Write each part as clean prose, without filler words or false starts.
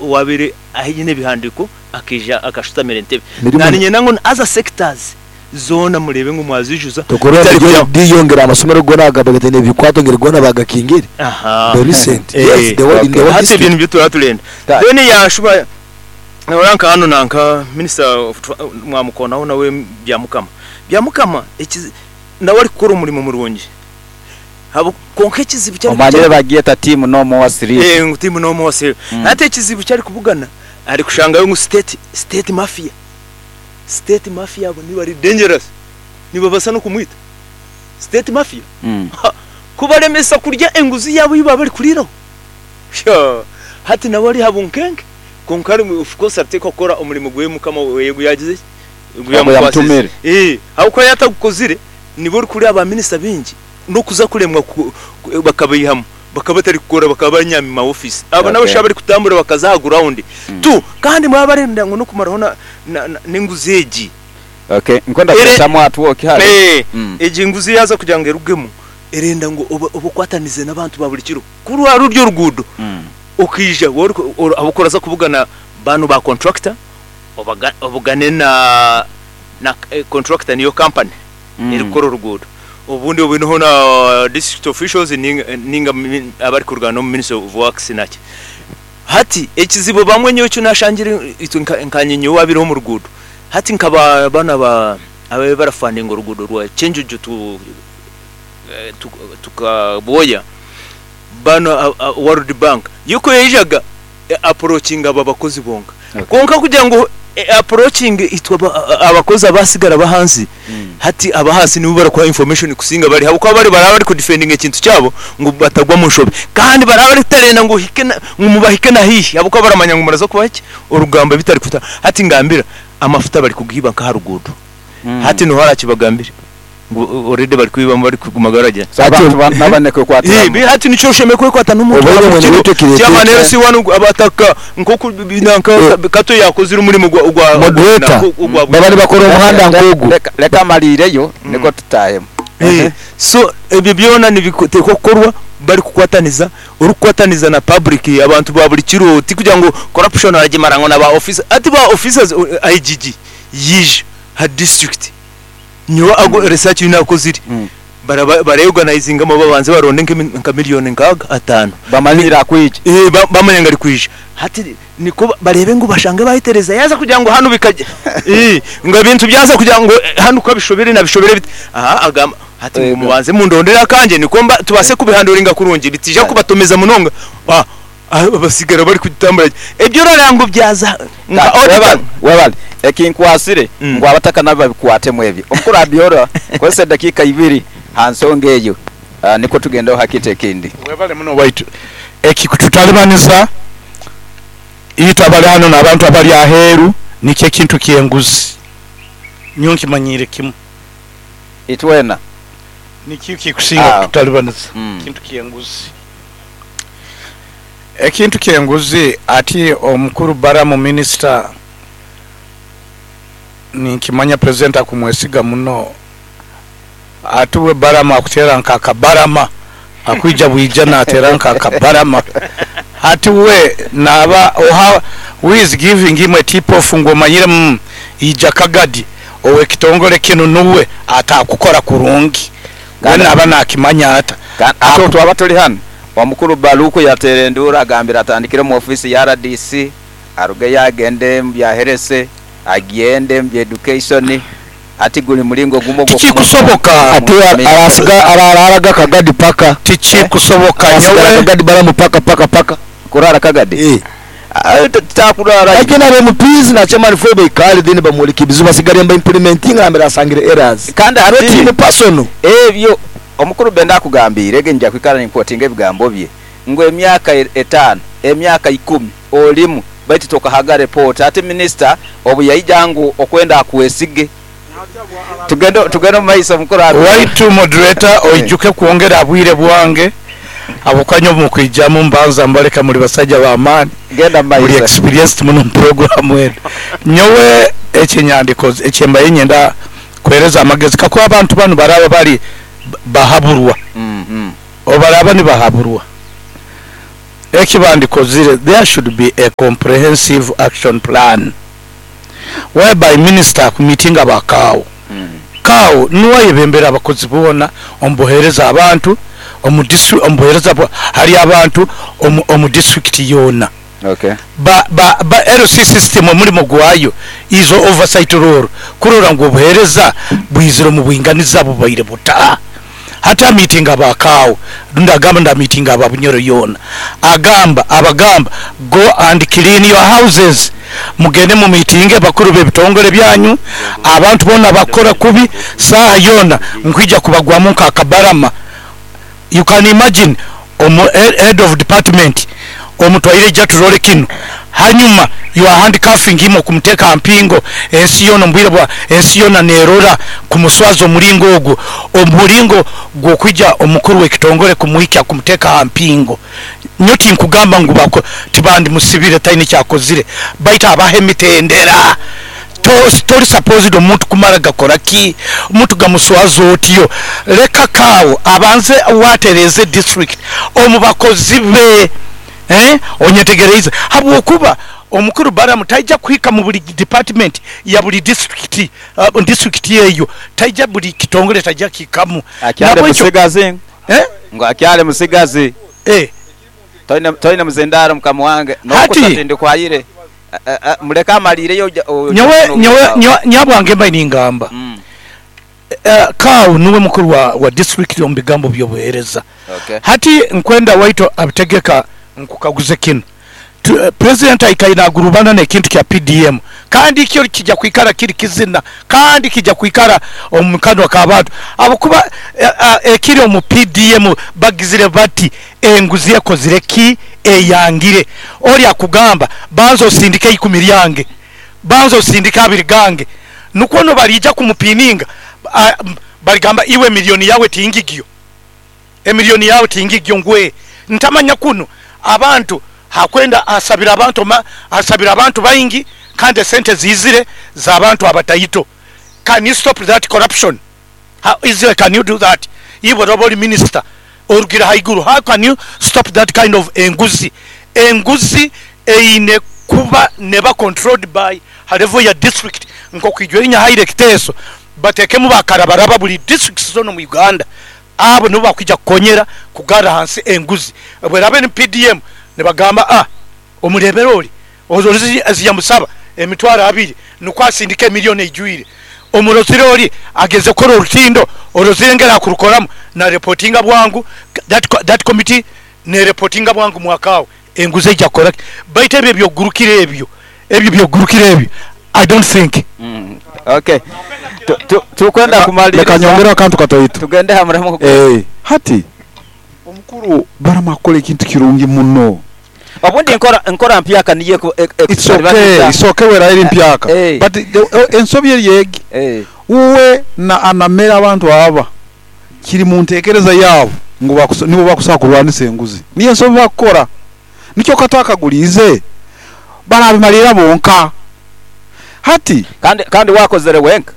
Owabaire aine ebihandiiko akaija akashutamira entebe. Mirimo Naniinyenda ngu other sectors zoona mureebe ngu mwaziijuza Tokurora bitari ngu kugira ngu. DO ngeri amasomero goona agaba gataine bikwato ngeri goona bagakingire? The recent, yes, the whole in the whole Hati ebyo district. nibyo turaba turenda. Then yaashuba noreeba nka hanu nanka minister of mwamukonaho nawe Byamukama. Byamukama nawe arikukora omurimo murungi kwonka ekizibu eki Omanyire bagyeta team no more sleep. Ngu team no more sleep. Hati ekizibu eki arikubugana arikushangayo ngu state state mafia, state mafia abo nibari dangerous nibabaasa n'okumwita. State mafia kubaremesa kurya enguzi yaabo ei baba barikuriiraho hati nawe ari aha bunkenke kwonka of course arikuteekwa kukora omurimo gwe mukama we ogu yagizire ki? Ogu yamukwasize. Ahabw'okuba yaaba atagukozire nibo orikureeba ba minisita baingi n'okuza kuremwa bakabaihamu bakaba batarikukora bakaba banyami mu ma ofiisi. Abo n'abashaija abarikutambura bakaza aha ground tu kandi baba barenda ngu n'okumaraho n'enguzi egi. Okay, nkwenda kureetamu atwoki hare. Egi nguzi yaaza kugira ngu erugemu erenda ngu obe okwatanize n'abantu ba buri kiro. Ku rwaba ruri oruguudo okaija ahabw'okuba oraza kubugana banu ba contractor obugane na contractor niyo company erikukora oruguudo obundi oboneho na district officials ninga abarikuruga n'omu ministry of works naki. Hati ekizibu bamwe nyowe eki nashangire itwe nkanye nyowe owabaireho omu ruguudo hati nka banu ababaire barafandinga oruguudo rwa Kyenjojo to to Kabwoya banu World Bank yo ku yaijaga e approachinga abo abakozi bonka. Kwonka kugira ngu e approachinge itwe abakozi abasigara ab'ahansi, hati ab'ahansi nibo barikuha information kusinga bari ahabw'okuba bari baraba bari kudefendinga ekintu kyabo ngu batagwa omu nshobe. Kandi baraba baritarenda ngu ohike na ngu mubahike na haihi ahabw'okuba baramanya ngu muraza kubaha ki? Orugamba bitarikuta. Hati ngambira, amafuta barikugiiba nk'aha ruguudo. Hati noha arakibagambire? Ngu already barikwibamu barikuguma baragira. So abantu naba nekwekwatiramu. Eh, hati nikyo oshemereire kwekwata n'omuntu Obaire wa mwene buri waitu kiro. ekireeta Chairman ekya. LC1 ngu abataka nkoku nanka Kato yakozire omurimo gwa gwa Moderator, ogwa baba nibakora omuhanda nk'ogu. Leka amariireyo nikwo tutahemu. So ebyo byona nibiteekwa kukorwa barikukwataniza, orikukwataniza na public, abantu ba buri kiro, tikugira ngu corruption oragimara ngu na ba officer. Hati ba officers, IGG yaija aha district. Nyowe ago research ei naakozire, baraba bareyorganizingamu babanze baronde nka million nkaaga ataano. Bamanyire akwija. Eeh bamanya ngu arikwija. Hati nikwo bareebe ngu bashange bayetereza yaaza kugira ngu hanu bikagye eeh ngu ebintu byaza kugira ngu hanu kabishobire na bishobire biti aha agamba hati ngu mubanze mundondere akangye nikwo mba tubaase kubihandoringa kurungi bitiija kubatomeza munonga basigara barikutambura gye. Ebyo orareeba ngu byaza nka auditor. Webale. Ekinkwasire ngu abataka nabo babikwatemu ebyo. Omukuru Abiora, kozesa edakiika ibiri ha nsonga eyo nikwo tugendeho ha kintu ekindi. Webale muno waitu. Ekikututalibaniza itwe abali hanu n'abantu abali aheeru nikyo ekintu ky'enguzi. Nyowe nkimanyiire kimu. Itwena. Nikyo ekikusinga kututalibaniza, ekintu ky'enguzi. Ekintu ky'enguzi ati omukuru Balamu minisita ninkimanya purezidenti akumwesiga muno ati we Balamu akuteera nk'akabarama akwija bwija nateera nk'akabarama ati we naaba oha who is giving him a tip off ngu omanyire ija Kagadi ow'ekitongole kinu nuwe atakukora kurungi we naaba nakimanya ata. Ati obu twaba tuli hanu, omukuru Baluku yateera enduuru agambire atandikire omu ofiisi ya rdc, arugeyo agende omu bya herese, agyende omu bya education, ati guli mulingo gumu Tikikusoboka. Ati arasiga araraga Kagadi paka. Tikikusoboka Arasigara nyowe. Kagadi Balamu paka paka paka. Kurara Kagadi? Eh. Takurara. Lakini aba MPs na chairman fwe baikale then bamwoleke ebizibu asigale mba implementinga nambere asangire errors. Kandi Not ati him personal. Ebyo omukuru Benda akugambiire ge nja kwikara ninkwotinga ebigambo bye ngu emyaka etaano, emyaka ikumi olimu baitu tokahaga report. Ati minisita obu yaija ngu okwenda akwesige. Tugende tugende omu maiso mukuru Abiola. Waitu moderator oijuke kwongera ha bwire bwange habwokuba nyowe mukwijamu mbanza mbaleka muli basaija b'amaani Genda mu muli maiso. experienced muno mu program enu. Nyowe ekyenyandikoze ekyembaire nyenda kuhereza amagezi kakuba abantu banu baraba bali bahaburwa obu baraba nibahaburwa. Ekibandikozire, there should be a comprehensive action plan whereby minister akumitinga abakaawo. Kaawo nuwe ayebembera abakozi boona omu buheereza abantu omu omu buheereza hali abantu omu district yoona. Ba LC system omulimo gwayo is oversight role, kurora ngu obuheereza bwizire omu bwinganiza bubaire buta. Hati amitinga abakaawo, rundi agamba ngu amitinga aba Bunyoro yoona, agamba abagamba go and clean your houses, mugende mu mitinge bakuru b'ebitongole byanyu, abantu boona bakora kubi saaha yoona nkwija kubagwamu nk'akabarama. You can imagine omu head of department omutwaire ija turole kinu, hanyuma you are handcuffing him okumuteka ha mpingo ensi yoona omu bwire bwa ensi yoona nerora kumuswaza omuringo ogwo, omuringo gw'okwija omukuru w'ekitongole kumuhikya kumuteka ha mpingo. Nyowe tinkugamba ngu tibandimusibire taine kyakozire, baitu abaha emitendera. Tori supposed omuntu kumara gakora ki, omuntu gamuswaza otyo. Leka kaawo abanze watereze district omu bakozi be, onyetegereize, habwokuba omukuru Balamu taija kuhika mu buli department ya buli district, district eyo taija buli kitongole taija kihikamu. Akyali musigazi ngu akyali musigazi. Toine muzindaro mukama wange nokuta tindikwayire muleke amalireyo. Nyowe nyabwange mbaire ningamba Kaawo nuwe mukuru wa district omu bigambo by'obuheereza. Hati nkwenda waito abitegeka nkukaguze kinu. President aikaire nagurubana n'ekintu kya PDM, kandi kyo kijja kwikara kiri kizina, kandi kijja kwikara omu kanwa k'abantu, habwokuba ekiri omu PDM bagizire bati enguzi ekozire ki eyangire. Oli akugamba banza osindike 10 lyange, banza osindike 2 gange, nukwo no baliija kumupininga, baligamba iwe milioni yawe tingigyo, emilioni yawe tingigyo ngwe ntamanya kuno abantu hakwenda asabira abantu asabira abantu baingi kandi sente zizire za abantu abataito. Can you stop that corruption? How easily can you do that? Iwe roboli minister orugira haiguru, how can you stop that kind of enguzi? Enguzi eine kuba neba controlled by level ya district, nkokwijwerinya haire kiteso batekemu bakarabaraba buli district zona mu Uganda, abo nibo bakwija kukonyera kugara hansi enguzi. Bwerabe ni PDM nibagamba omurebera oli ozozi ziyamusaba emitwaro 2 nukwo asindike milioni ejwire, omurozire oli ageze kora orutindo orozirengera kurukoramu na reportinga bwangu, that committee ne reportinga bwangu mwakawe enguzi ejja kora baitu ebyo byogurukira ebyo byogurukira ebyo I don't think. Okay, tukwenda kumaliriza leka nyongera akantu katoito tugende hamuremo. Hati omukuru Balamu akola ekintu kirungi muno. Obundi nkora mpyaka niye it's okay, it's okay wera eri mpyaka, but ensobi eri yegi uwe na anamera abantu aba kiri mu ntekereza yabo ngo nibo bakusaba kurwanisa enguzi, niyo ensobi bakora nikyo katakagulize barabimalira bonka. Hati kandi wakozere wenka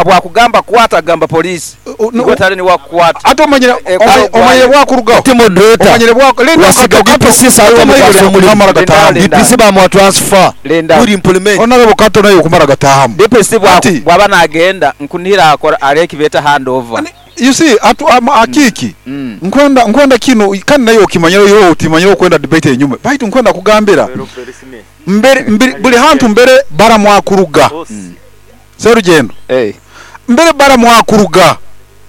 bwakugamba kwata gamba polisi iwe ni wakwata ate omanyire omanyire bwakurugaho omanyire bwako wasiga DPC sawa kumara gatahamu DPC bamwa transfer buri implement honorable Kato nayo kumara gatahamu DPC bwaba nagenda nkunira akora areki beta handover. You see atu akiki nkwenda kino kandi nayo okimanyira yo utimanyira okwenda debate enyuma baitu nkwenda kugambira mbere buli hantu mbere baramwakuruga serugendo mbere baramwakuruga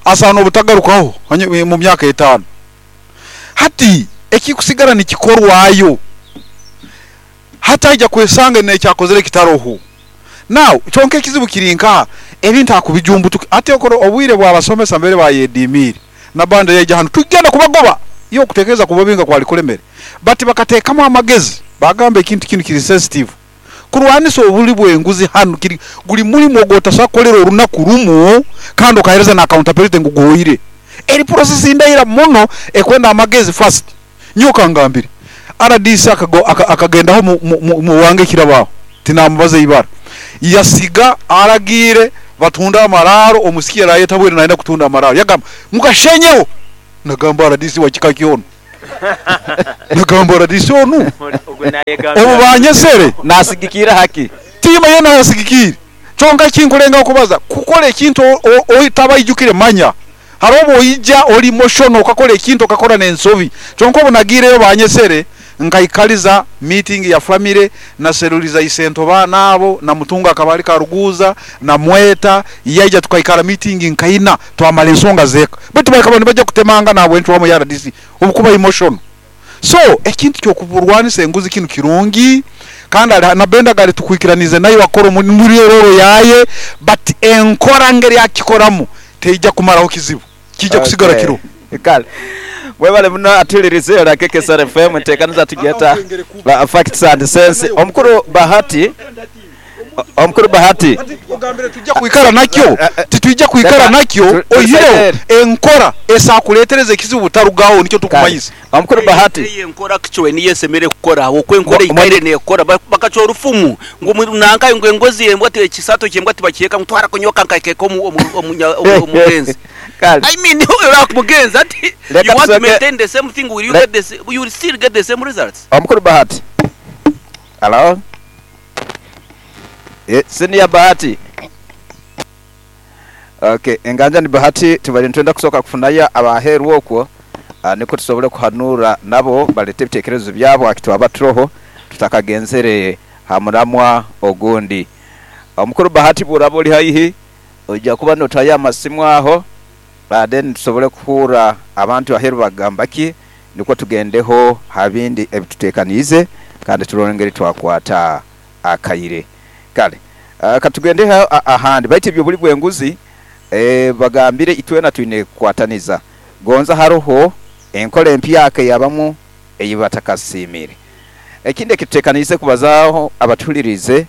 asana obutagarukaho mu myaka 5. Hati ekikusigara nikikorwayo hataija kwesanga nekyakozere kitaroho. Now kyonka ekizibu kirinka ebintu akubijumbutuka ate okoro obwire bwabasomesa mbere bayedimire na bande yeja hano tugenda kubagoba iyo kutekereza kubabinga kwali kulemere but bakateekamu amagezi bagamba ekintu kino kiri sensitive kurwanisa obuli bwenguzi hano kiri guli mulimu ogotasakolera orunaku rumu kandi okahereza na accountability ngugoyire eri process indaira muno ekwenda amagezi first. Nyoka ngambire RDC akagendaho mu wange kirabaho tinamubaze ibara yasiga aragire batunda amararo omusikia rayeta bwere naenda kutunda amararo yagamba mukashenyeho nagamba RDC wa kika kiono Nagamba rdc onu obu banyesere Nasigikira haki? Timanye nasigikire. Kyonka ekinkulengaho kubaza, kukora ekintu otabaijukire manya. Hariho obu oija ori emotional okakora ekintu okakora n'ensobi. Kyonka obu nagiireyo banyesere, nkaikaliza meeting ya family, naseruliza isento baana abo, na Mutunga akaba ali Karuguuza, namweta, yaija tukaikara meeting nkaina, twamara ensonga z'eka. Baitu bakaba nibaija kutemangana ahabw'encwamu ya rdc obukuba emotional. So ekintu ky'okurwanisa enguzi kinu kirungi, kandi ari na Benda gari tukwikiranize nayo akora muri role yaye, but enkora ngeri akikoramu teija kumaraho kizibu, kiija kusigara kiro. Kale mwebale muno atulirize ola KKSR FM ntekaniza tugyeta Facts and Sense. Omukuru Bahati, Omukuru Bahati. Ogambire titwija kwikara nakyo, titwija kwikara nakyo, oihireho enkora esakuletereza ekizibu butarugaho nikyo tukumanyisa. Omukuru Bahati. Eyo enkora kichwe niyo esemere kukora, habwokuba enkora eikaire nekora. Bakacwa orufumu ngu nanka ngu engozi embwa ekisato ky'embwa tibakyeka ngu twara kunyoka nkakeeka omugenzi. I mean, mugenzi ati you want to maintain the same thing, will you get the you will still get the same results. Omukuru Bahati. Hello? Senior Bahati. Okay, enganja ni Bahati tubali nitwenda kusoka kufunayo abaheru okwo nikwo tusobole kuhanura nabo balete ebitekerezo byabo akitwaba turoho tutakagenzere ha muramwa ogundi. Omukuru Bahati bw'oraba ori haihi oija kuba notayo amasimu aho then tusobole kuhurra abantu aheru bagamba ki nikwo tugendeho ha bindi ebitutekaniize kandi turole engeri twakwata akaire. Kale katugendeho ahandi baitu ebyo buli bw'enguzi bagambire itwena twine kukwataniza. Gonza haroho enkola empyaka eyabamu eyibatakasiimire. Ekindi ekitutekaniize kubazaaho abatuhuliriize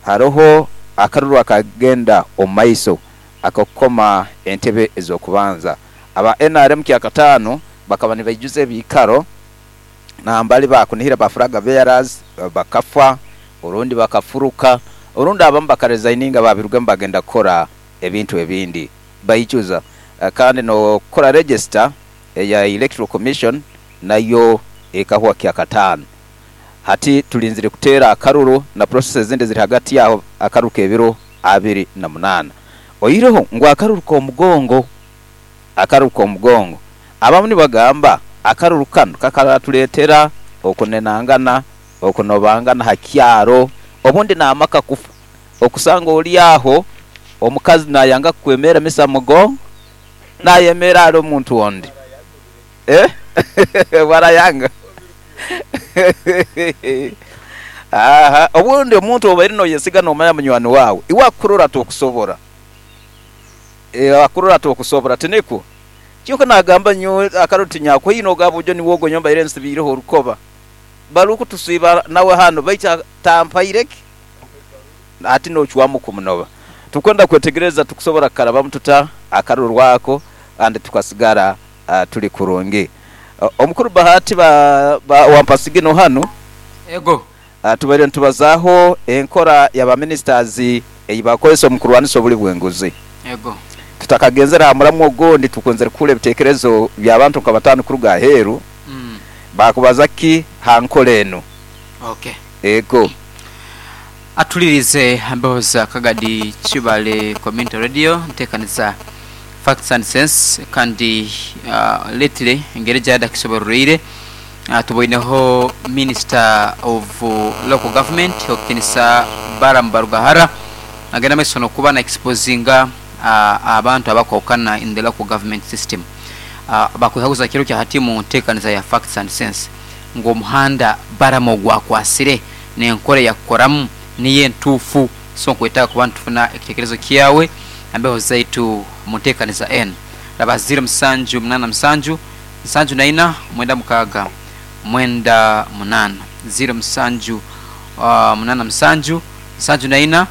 haroho akaruru akagenda omu maiso ak'okukoma entebe ez'okubanza. Aba NRM kyakataano bakaba nibaijuza ebiikaro nambali bakunihira ba flag bearers bakafa orundi bakafuruka orundi abamu bakaresigninga babirugamu bagenda kukora ebintu ebindi baijuza. Kandi n'okukora register eya Electoral Commission nayo ekahwa kyakataano. Hati tulinzire kuteera akaruru na process ezindi eziri hagati aho akaruru k'ebiro 28. Oihireho ngu akaruru k'omugongo, akaruru k'omugongo. Abamu nibagamba akaruru kanu kakaratuleetera okunenangana, okunobangana ha kyaro, obundi n'amaka kufa. Okusanga ori aho omukazi nayanga kukwemera misa mugongo, nayemera ali omuntu ondi. Barayanga. Aha, obundi omuntu obaire noyesiga nomanya munywani wawe, iwe akurora tokusobora. Akurora tokusobora tinikwo. Kyonka nagamba nyowe akaruru tinyakwaine ogaba ojo niwe ogwo nyowe mbaire nsibiireho orukoba. Barukutusiiba nawe hanu baitu tampaireki. Hati nocwamu kumunoba. Tukwenda kwetegereza tukusobora kukarabamu tuta akaruru ako kandi tukasigara tuli kurungi. Omukuru Bahati wampasigino hanu. Ego. Tubaire nitubazaaho enkora ya ba ministers ei bakozesa omu kurwanisa obuli bw'enguzi. Ego. Tutakagenzere aha muramu ogundi tukunzire kuhurra ebitekerezo by'abantu nka bataano kuruga aheeru. Bakubaza ki ha nkora enu? Okay. Ego. Atulirize embeho za Kagadi Kibale Community Radio ntekaniza Facts and Sense kandi lately engeri gyada kisoborreire tuboineho Minister of Local Government okukinisa Balaam Barugahara agenda maiso nokuba na exposinga abantu abakwahukana in the local government system. Bakwehaguza kiro kya hati mu ntekaniza ya Facts and Sense ngu omuhanda Balaam ogwakwasire nenkora eyakukoramu niyo entuufu, so nkwetaaga kuba nitufuna ekitekerezo kyawe embeho zaitu mu ntekaniza enu. Raba ziro musanju munana musanju, nsanju na ina, mwenda mukaaga, mwenda munana. Ziro musanju munana musanju, nsanju na ina,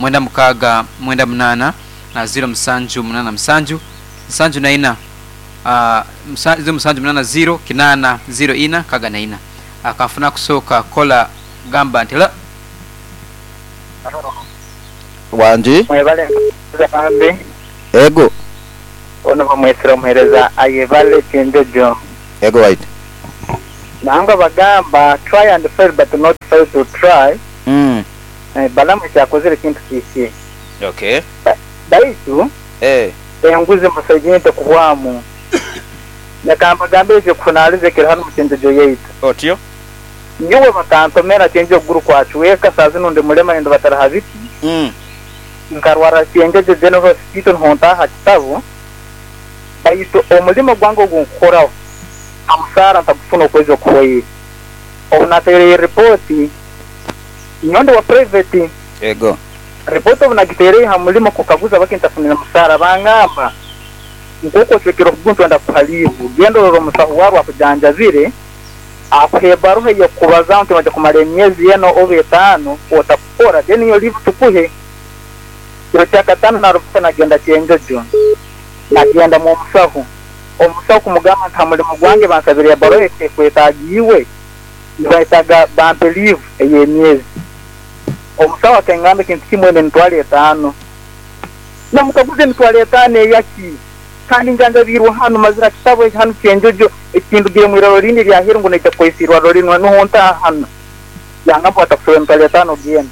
mwenda mukaaga, mwenda munana, na ziro musanju munana musanju, nsanju na ina, ziro musanju munana ziro, kinana, ziro ina, kaga na ina. Akanfuna kusooka kola gamba nti la. Wangi. Mwebale bambi. Ego. Ono bamwesera omuhereza ayebale Kyenjojo. Ego waitu. Nangwa bagamba try and fail but not fail to try. Balamu eki akozire kintu kihikire. Okay. Baitu enguzi musaija ente kuhwamu. Leka mbagambire eky'okuhunaaliza ekiri hanu mu Kyenjojo yaitu. Otyo. Nyowe bakantomera Kyenjojo okuguru kwacweka, saaha zinu ndi mulema nindubatira ha biti. Nkarwarra Kyenjojo General Hospital nuho ntaaha ha kitabu, baitu omulimo gwange ogu nkukoraho ha musaara ntagufuna okwezi okuhwaire. Obu nataireyo ripooti, nyowe ndi wa private. Ego. Ripooti obu nagitaireyo ha mulimo kukaguza habwaki ntafunire musaara, bangamba, Nk'oku ocwekere okuguru nitwenda kukuha liivu. Genda orole omusaho waawe akujanjabire, akuhe ebaruha ey'okukubazaho nti noija kumara emyezi ena oba etaano otakukora, then iyo liivu tukuhe. Kiro kyakataano narubata nagenda Kyenjojo. Nagenda mw'omusaho. Omusaho kumugamba nti ha mulimo gwange bansabire ebaruha ekwetaaga iwe, nibayetaaga bampe liivu ey'emyezi. Omusaho akangamba ekintu kimu enu emitwaro etaano. Namukaguza emitwaro etaano eyaki? Kandi njanjabiirwe hanu, mazire ha kitabu eki hanu Kyenjojo, ekindugire mu irwarro rindi erya aheeru ngu naija kukozesa irwarro rinu, nuho ntaaha hanu. Yangamba batakusobola emitwaro etaano genda.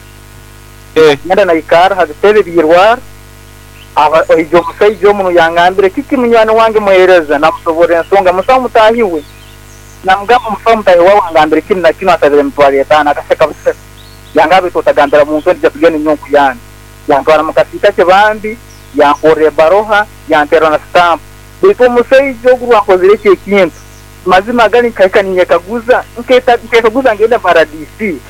Nagenda naikarra ha bitebe by'irwarro, haija omusaija omu yangambire, Kiki munywani wange muheereza? Namusoborra ensonga, musaho mutaahi we. Namugamba omusaho mutaahi waawe angambire kinu na kinu ansabire emitwaro etaano. Akaseka buseka. Yangamba baitu otagambira muntu weena ija tugende nyowe nkuyambe. Yantwara mu kasiika ke bambi, yankorra ebbaroha, yanterra na sitampu. Baitu omusaija ogu obu ankozire eki ekintu, mazima gali nkahika ninyekaguza, nkekaguza ngende mu rdc?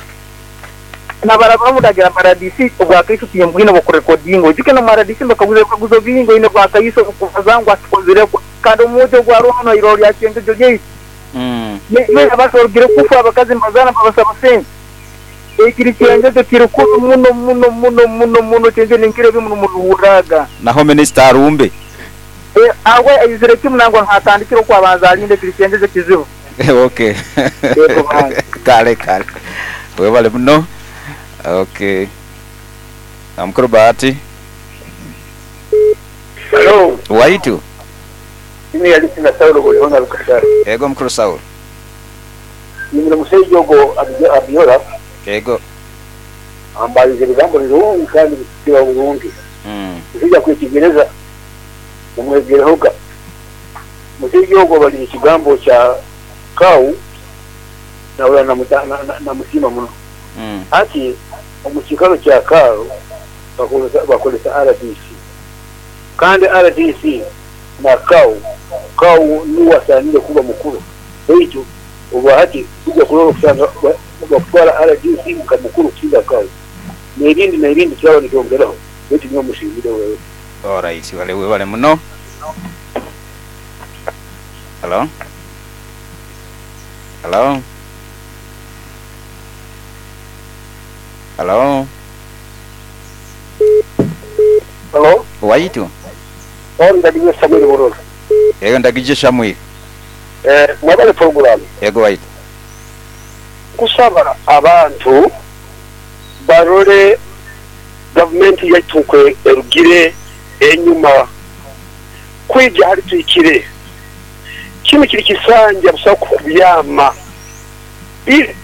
Nabarabamu ndagira mu rdc obwakaiso timbwine obw'okurekodinga. Oijuke n'omu rdc nibakaguza ebikaguzo bingi, oine bwakaiso obukubaza ngu akikozirekwo. Kandi omwojo ogu aroho hanu ha irwarro lya Kyenjojo lyaitu, naitwe abantu barugire kufa, abakazi nibazaara nibabasaba sente. Ekiri Kyenjojo kiri kubi muno muno muno muno muno Kyenjojo ninkira ebi mubihurraga. Naho minisita arumbe. Awe aizire kimu nangwa nuho atandikire oku abanza alinde ekiri Kyenjojo kizibu. Ok. Yego bange. Kale kale. Webale muno. Ok. Mukuru Bahati. Halo. Waitu. Ine yali na Saulo Bolihona Rukashara. Ego mukuru Saulo. Nyine omusaija ogwo Abiola. Ego. Ambalize ebigambo birungi kandi bikukira oburungi. Musaija akwetegereza, mumwegerehoga. Omusaija ogwo abalize ekigambo kya Kau nahurra namusiima muno. Hati omu kiikaro kya Kau bakozesa rdc kandi rdc na Kau, Kau nuwe asaanire kuba mukuru baitu Obwahati twija kurora okusanga bakutwara rdc nka mukuru kusinga Kau nebindi nebindi turaba nitwongeraho baitu nyowe musiimire wewe. Alright wale webale muno. Hello Hello Hello Hello. Waitu. Paul Ndagije Samuel Burora. Eyo Ndagije Samuel. Mwebale puroguramu. Yego waitu. Nkusaba abantu barole gavumenti yaitu nku erugire enyuma kwija hali tuhikire. Kinu kiri kisanja busaho kubyama. Ire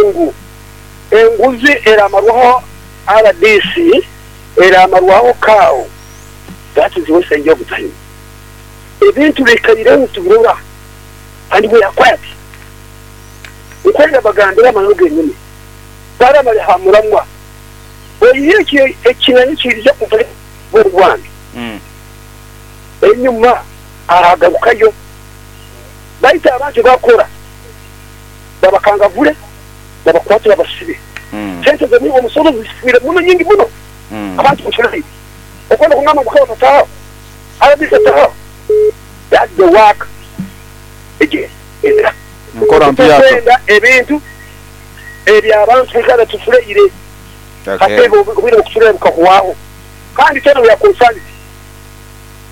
ngu enguzi eramarwaho rdc, eramarwaho CAO, that is wasting of time. Ebintu biikaireho nitubirora and we are quiet. Nkwenda mbagambire amananu genyini. Bali abali ha muramwa, oihireho ekinani ekiija kuva omu bwange enyuma aragarukayo. Baitu abantu bakora babakangavule, babakwate babasibe. Sente z'omusoro zifwire muno nyingi muno. Abantu muculeire. Okwenda kungamba ngu Kabaka tataho? Rdc taho? That's the work again. Ezira. Nkora mpyaka. Titukwenda ebintu eby'abantu kwikara tuculeire. Hati Okay. obwire bw'okuculeera bukahwaho. Kandi twena we are concerned.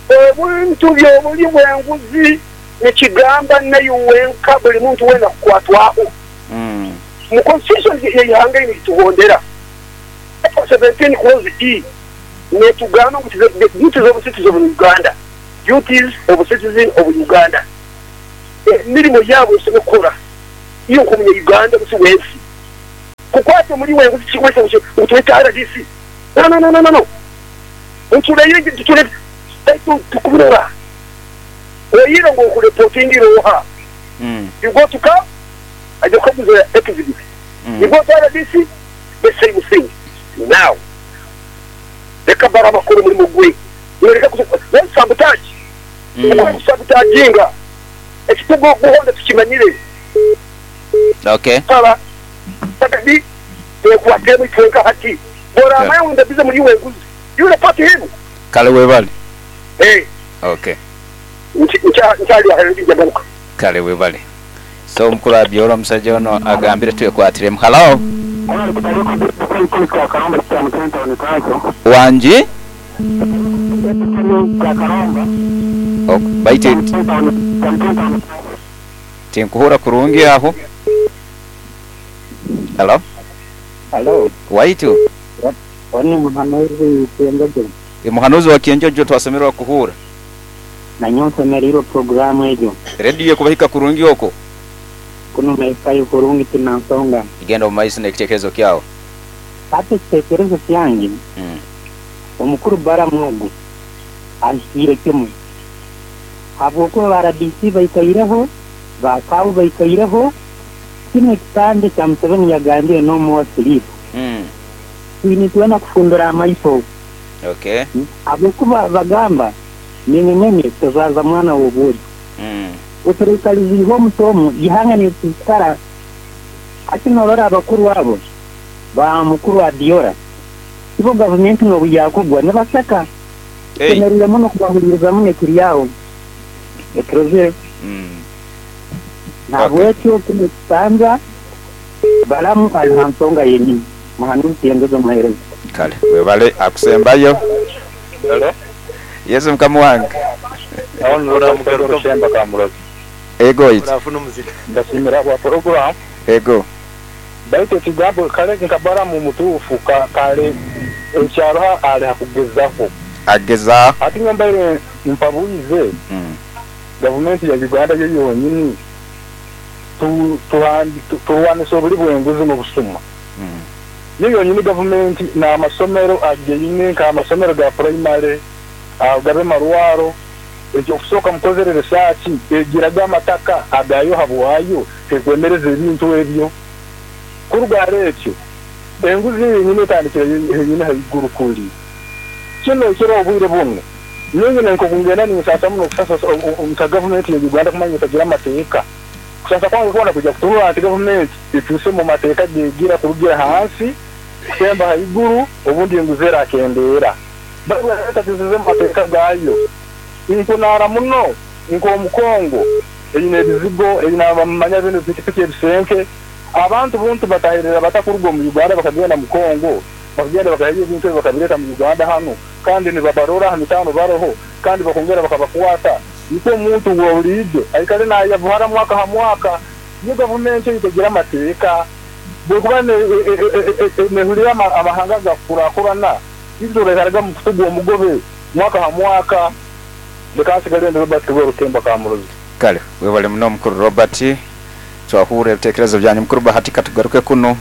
Ebintu by'obulyi bw'enguzi nikigamba naiwe wenka buli muntu weena kukwatwaho. Mu constitution y'eihanga eri nituhondera Article 17 clause E netugamba ngu the duties of citizen of Uganda, duties of citizen of Uganda, emirimo yaabo esobola kukora. Iwe nk'omunya-Uganda rusi w'ensi kukwata omuli w'enguzi kikwesa ngu twete rdc? No no no no no. Ntuleyo tutule baitu tukubirora. Oire ngu okureportingira oha? You go to camp aija kukaguza exhibit. You go to rdc the same thing. Now leka Balaam akore omurimo gwe. Iwe leka don't sabotage. Okore kusabotaginga. Ekituguhonda tukimanyire. Okay. Saba Kadi twekwatemu itwenka hati. Bworamanya ngu ndabize muri iwe enguzi, you report him. Kale webale. Eh. Okay. Nkyali aho njagaruka. Kale webale. So omukulu Abiola omusaija ono agambire twekwatiremu. Hallo. Wangi? Baitu tinkuhura kurungi aho. Hallo. Hallo. Waitu. Oni muhanuzi Kyenjojo. Muhanuzi wa Kyenjojo twasemererwa kuhura. Nanyowe nsemereirwe puroguramu egyo. Rediyo ekubahika kurungi okwo? Kunu nehikayo kurungi tina nsonga. Genda omu maiso n'ekitekerezo kyawe. Hati ekitekerezo kyange, omukuru Balamu ogu ahikiire kimu. Habwokuba ba rdc baikaireho, ba CAO baikaireho, kinu ekisanja kya Museveni yagambire no more sleep. Twine itwena kufundura amaiso. Habwokuba bagamba menye menye tozaaza mwana w'obwojo. Oturaikaliziibwe omuti omu, ihanga nirisigikara. Hati norora abakuru abo ba mukuru Abiola, ibo gavumenti nobu yakugwa nibaseka. Tusemeriire muno kubahuliriza muno ekiri aho ekirozire. Nahabwekyo kinu ekisanja Balamu ali ha nsonga yenyini. Muhanuzi Tiyengeza omuhereza. Kale webale akusembayo. Hello. Yesu mukama wange. Aho ni Robert Orushemba Kamurozi. Ego oitu. Ndasiimira ahabwa puroguramu. Ego. Baitu ekigambo kare nka Balamu mutuufu kare ekyaroho ari ha kugezaho. Agezaho. Hati nyowe mbaire mpabwize gavumenti ya Uganda yo yonyini turwanise oburi bw'enguzi n'obusuma. Yo yonyini gavumenti n'amasomero ageine nk'amasomero ga purayimare, gabe marwaro, eky'okusooka mukozere risaaki egiraga amataka agayo habwayo tekwemereza ebintu ebyo. Kuruga ahari ekyo, enguzi yo yenyini etandikira henyini haiguru kuri. Kinu ekiro obwire bunu, nyowe nk'oku ngenda ninsaasa muno kusasa nka gavumenti ya Uganda kumanya etagira amateeka. Kusasa kwange kwona kwija kutunura nti gavumenti ekyuse omu mateeka gegira kurugira hansi kusemba haiguru obundi enguzi erakendeera. Baitu etakyusize omu mateeka gaayo. Nkunaara muno nk'omu Congo eine ebizigo, eine abamanya binu pikipiki ebisenke. Abantu buntu batahirira bata kuruga omu Uganda bakagenda mu Congo, bakagenda bakaheyo ebintu ebyo bakabireeta mu Uganda hanu kandi nibabarora ha mitaano baroho kandi bakongera bakabakwata. Nikwo omuntu wa buriijo aikare nayavuhara mwaka ha mwaka. Yo gavumenti ei tegira amateeka. Bwekuba nehurira amahanga agakukurakurana, itwe turaikaraga omu kutugwa omugobe mwaka ha mwaka. Leka nsigale ndi Robert Rwerukemba Kamurozi. Kale webale muno mukuru Robert, twahurra ebitekerezo byanyu. Mukuru Bahati katugaruke kunu.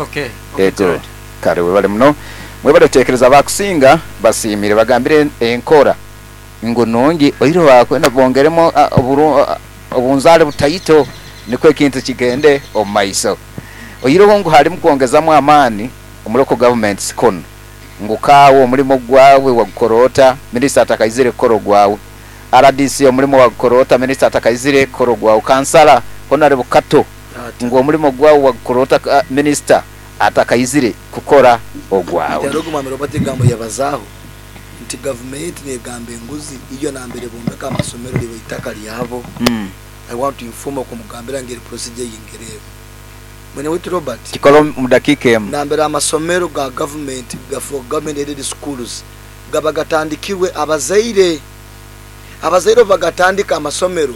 Okay, okay, Ego. Gerald. Kale webale muno. Mwebale kutekereza abakusinga basiimire bagambire enkora ngu nungi oihireho bakwenda bongeremu obunzaale butaito nikwo ekintu kigende omu maiso. Oihireho ngu halimu kwongezamu amaani omu local governments kunu ngu kaawe omulimo gwawe wagukora ota minisita atakaizire kukora ogwawe, rdc omulimo wagukora ota minisita atakaizire kukora ogwawe, kansala Honourable Kato ngu omulimo gwawe wagukora ota minisita atakaizire kukora ogwawe. Hati ogu Mwami Robert ebigambo yabazaaho nti gavumenti negamba enguzi iyo nambere bombeka amasomero liba itaka lyabo. I want to inform okumugambira ngeri procedure eyi ngereeba. Mwene waitu Robert. Kikole omu dakiika emu. Nambere amasomero ga gavumenti gafuuka government aided schools gaba gatandikirwe abazaire. Abazaire obu bagatandika amasomero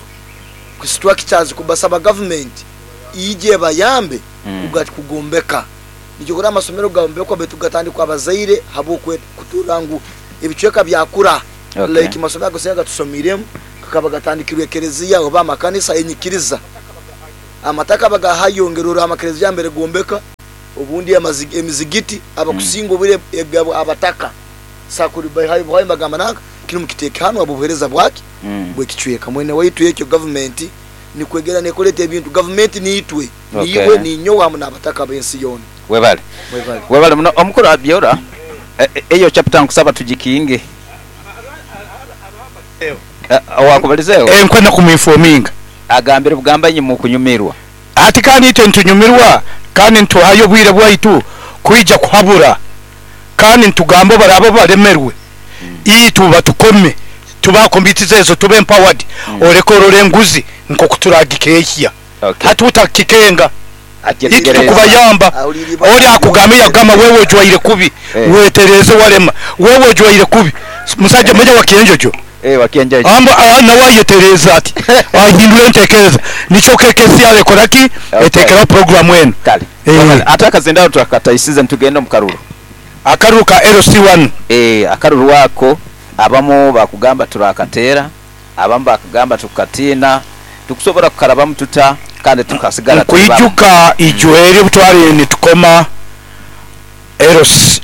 ku structures kubasaba gavumenti ije ebayambe kugombeka. Nikyo kurora amasomero gaombekwa baitu gatandikwa abazaire habw'okuturra ngu ebicweka byakura. Like amasomero agasinga agatusomiiremu gakaba gatandikirwe ekereziya oba amakanisa enyikiriza. Amataka bagahayo ngerora amakereziya mbere gombeka obundi emizigiti abakusinga obwire egabwa abataka sakuri bahayo bahayo bagamba nanka kinu mukiteeke hano abo buheereza bwaki bwekicweka mwene waitu. Ekyo gavumenti nikwegera nekoleta ebintu gavumenti niitwe niiwe ninyowe hamu n'abataka b'ensi yoona. Webale. Mwebale. Webale muno omukulu Abyora. Eyo chapter nkusaba tugikinge. Owakubalizeeho? Enkwenda kumuinfominga. Agambire bugamba inye mukunyumirwa. Ati kandi itwe nitunyumirwa kandi nituhayo obwire bwaitu kwija kuhabura kandi nitugamba baraaba balemerwe itwe batukome tuba committees ezo tube empowered oreke orore enguzi nkoku turagikehya. Hati utakikenga itwe tukubayamba ori akugamba yagamba wewe ojwaire kubi wetereze walema wewe ojwaire kubi musaja manya wakienjojo amba nawe ayetereza ati ahindura entekereza nikyo KKC arekora ki etekeraho programu enu. Kale. Ate akazindalo twakataisize nitugenda omu karuru. Akaruru ka LC1. Akaruru ako abamu bakugamba turakateera, abamu bakugamba tukukatiina, tukusobora kukarabamu tuta kandi tukasigara tuli bamu? Nkwijuka ijo eri obutwali nitukoma LC,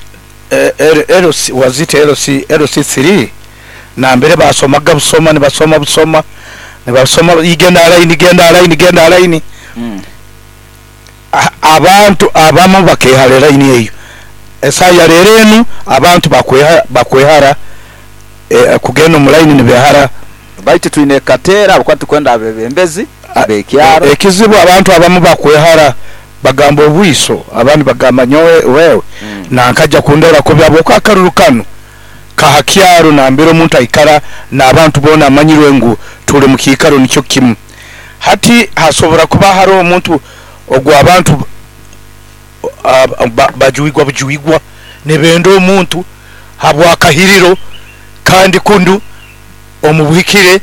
LC, was it LC, LC3 nambere basomaga busoma nibasoma busoma nibasoma igenda line genda line genda line. Abantu abamu bakehara line eyo esaya rero enu abantu bakwehara kugenda omu line nibehara. Baitu twine kateera ahabw'okuba tukwenda abebembezi ab'ekyaro. Ekizibu abantu abamu bakwehara bagamba obwiso abandi bagamba nyowe wewe nankaja kundora kubi habwokuba akaruru kanu kaha kyaro nambere omuntu aikara n'abantu boona amanyirwe ngu tuli mu kiikaro nikyo kimu. Hati hasobora kuba hariho omuntu ogwo abantu bajuigwa bujuigwa nibenda omuntu habwakahiriro kandi kundu omubuhikire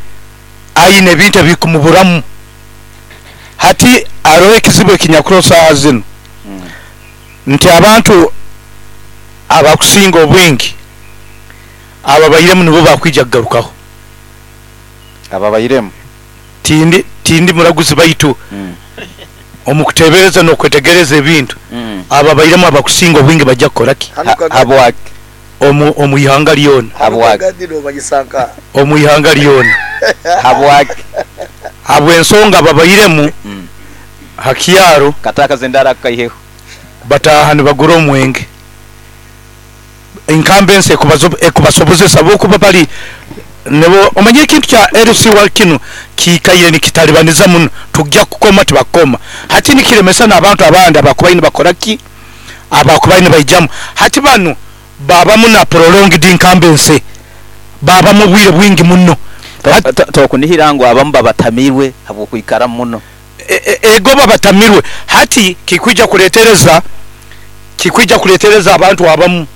aine ebintu ebikumuburamu. Hati aroho ekizibu ekinyakuro saaha zinu nti abantu abakusinga obwingi ababairemu nibo bakwija kugarukaho. Ababairemu tindi muraguzi baitu omukutebereza n'okwetegereza ebintu ababairemu abakusinga obwingi bajja kukora ki? Habwaki? Omu ihanga lyona. Habwaki? Omu ihanga lyona. Habwaki? Habw'ensonga ababairemu ha kyaro Kataka zendara akaiheho. Bataaha nibagura omwenge. Enkamba ensi ekubasobozesa bokuba bali nibo omanye ekintu kya LC wa kinu kiikaire nikitalibaniza muno tujja kukoma tibakoma. Hati nikiremesa n'abantu abandi abakubaine nibakora ki? Abakubaine baijamu. Hati banu babamu na prolonged incumbency babamu obwire bwingi muno. Tokunihira ngu abamu babatamirwe habw'okwikara muno. Ego babatamirwe. Hati kikwija kuletereza abantu abamu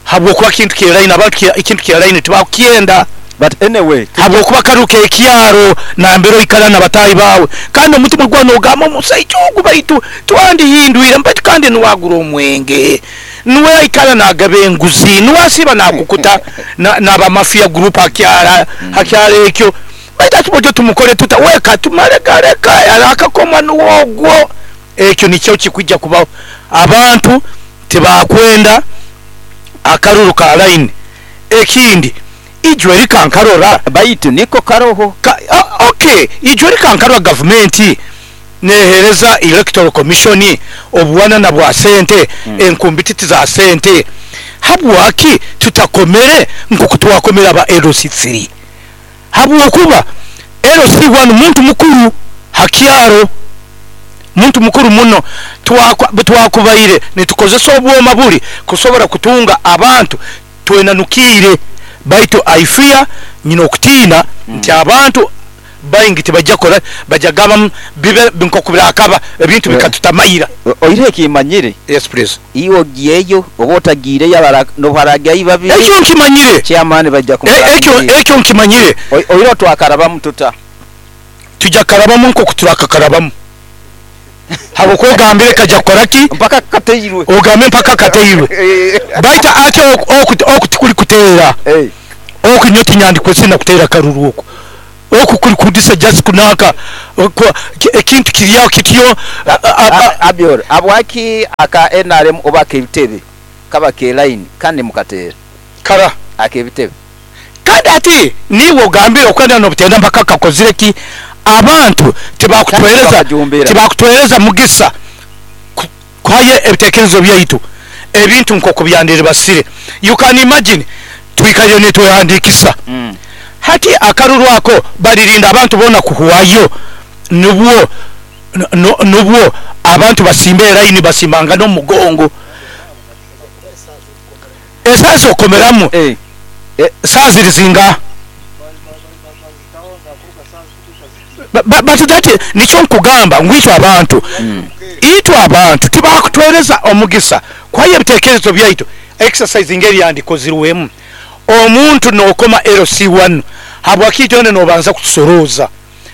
habwokuba kintu kya line abantu ekintu kya line tibakukyenda. But anyway, habwokuba karuka ekyaro nambere oikara n'abatahi bawe kandi omutima gwawe nogamba omusaija ogu baitu twandihindwire baitu kandi niwagura omwenge niwe aikara nagaba enguzi niwe asiba nakukuta n'abamafia group hakyara ekyo baitu ati bojo tumukore tuta weka tumare gareka akakoma niwogwo. Ekyo nikyo kikwijja kubaho. Abantu tibakwenda akaruru ka line. Ekindi ijwe rikankarora baitu niko karoho okay ijwe rikankarora gavumenti nehereza electoral commission obuwanana bwa sente enkumbititi za sente. Habwaki tutakomere nkoku twakomera aba LC3? Habwokuba LC1 muntu mukuru hakyaro muntu mukuru muno twakubaire nitukozesa obwoma buli kusobora kutunga abantu twenanukire baitu I fear nyina okutiina nti abantu baingi tibajja kola bajja gaba bibe nkokubirakaba ebintu bikatutamaira. Oire kimanyire. Yes please. Iwo giyeyo oba otagiire yabara no babiri. Ekyo nkimanyire. Chairman bajja kumara. Ekyo nkimanyire. Oire twakarabamu tuta. Tujja karabamu nkokuturakakarabamu. Habwokwegambire kajja kukora ki? Mpaka kateirwe. Ogambe mpaka kateirwe. Baita ate okutikuli kuteera. Okunyo tinyandikwe sina kuteera karuru oko. Oku kuli kudisa just kunanka ekintu kiri aho kityo. Abior, habwaki aka nrm oba ak'ebitebe kaba k'elaini kandi mukateera? Kara. Ak'ebitebe. Kandi hati niiwe ogambire okwenda n'obutenda mpaka kakozire ki? Abantu tibaakutwereza tibaakutwereza mugisa kuhayo ebitekerezo byaitu ebintu nk'oku byandiribasire. You can imagine twikaire nitwehandiikisa hati akaruru ako balirinda abantu boona kuhwayo nubwo nubwo abantu basimbe eraini basimbangane omu mugongo. Esaaha z'okukomeramu saaha ziri zingaha? But that nikyo nkugamba ngu itwe abantu, itwe abantu tibakutwereza omugisa kuhayo ebitekerezo byaitu. Exercise ngeri yandikozirwemu omuntu nokoma LC one habwaki itwena nobanza kutusorooza?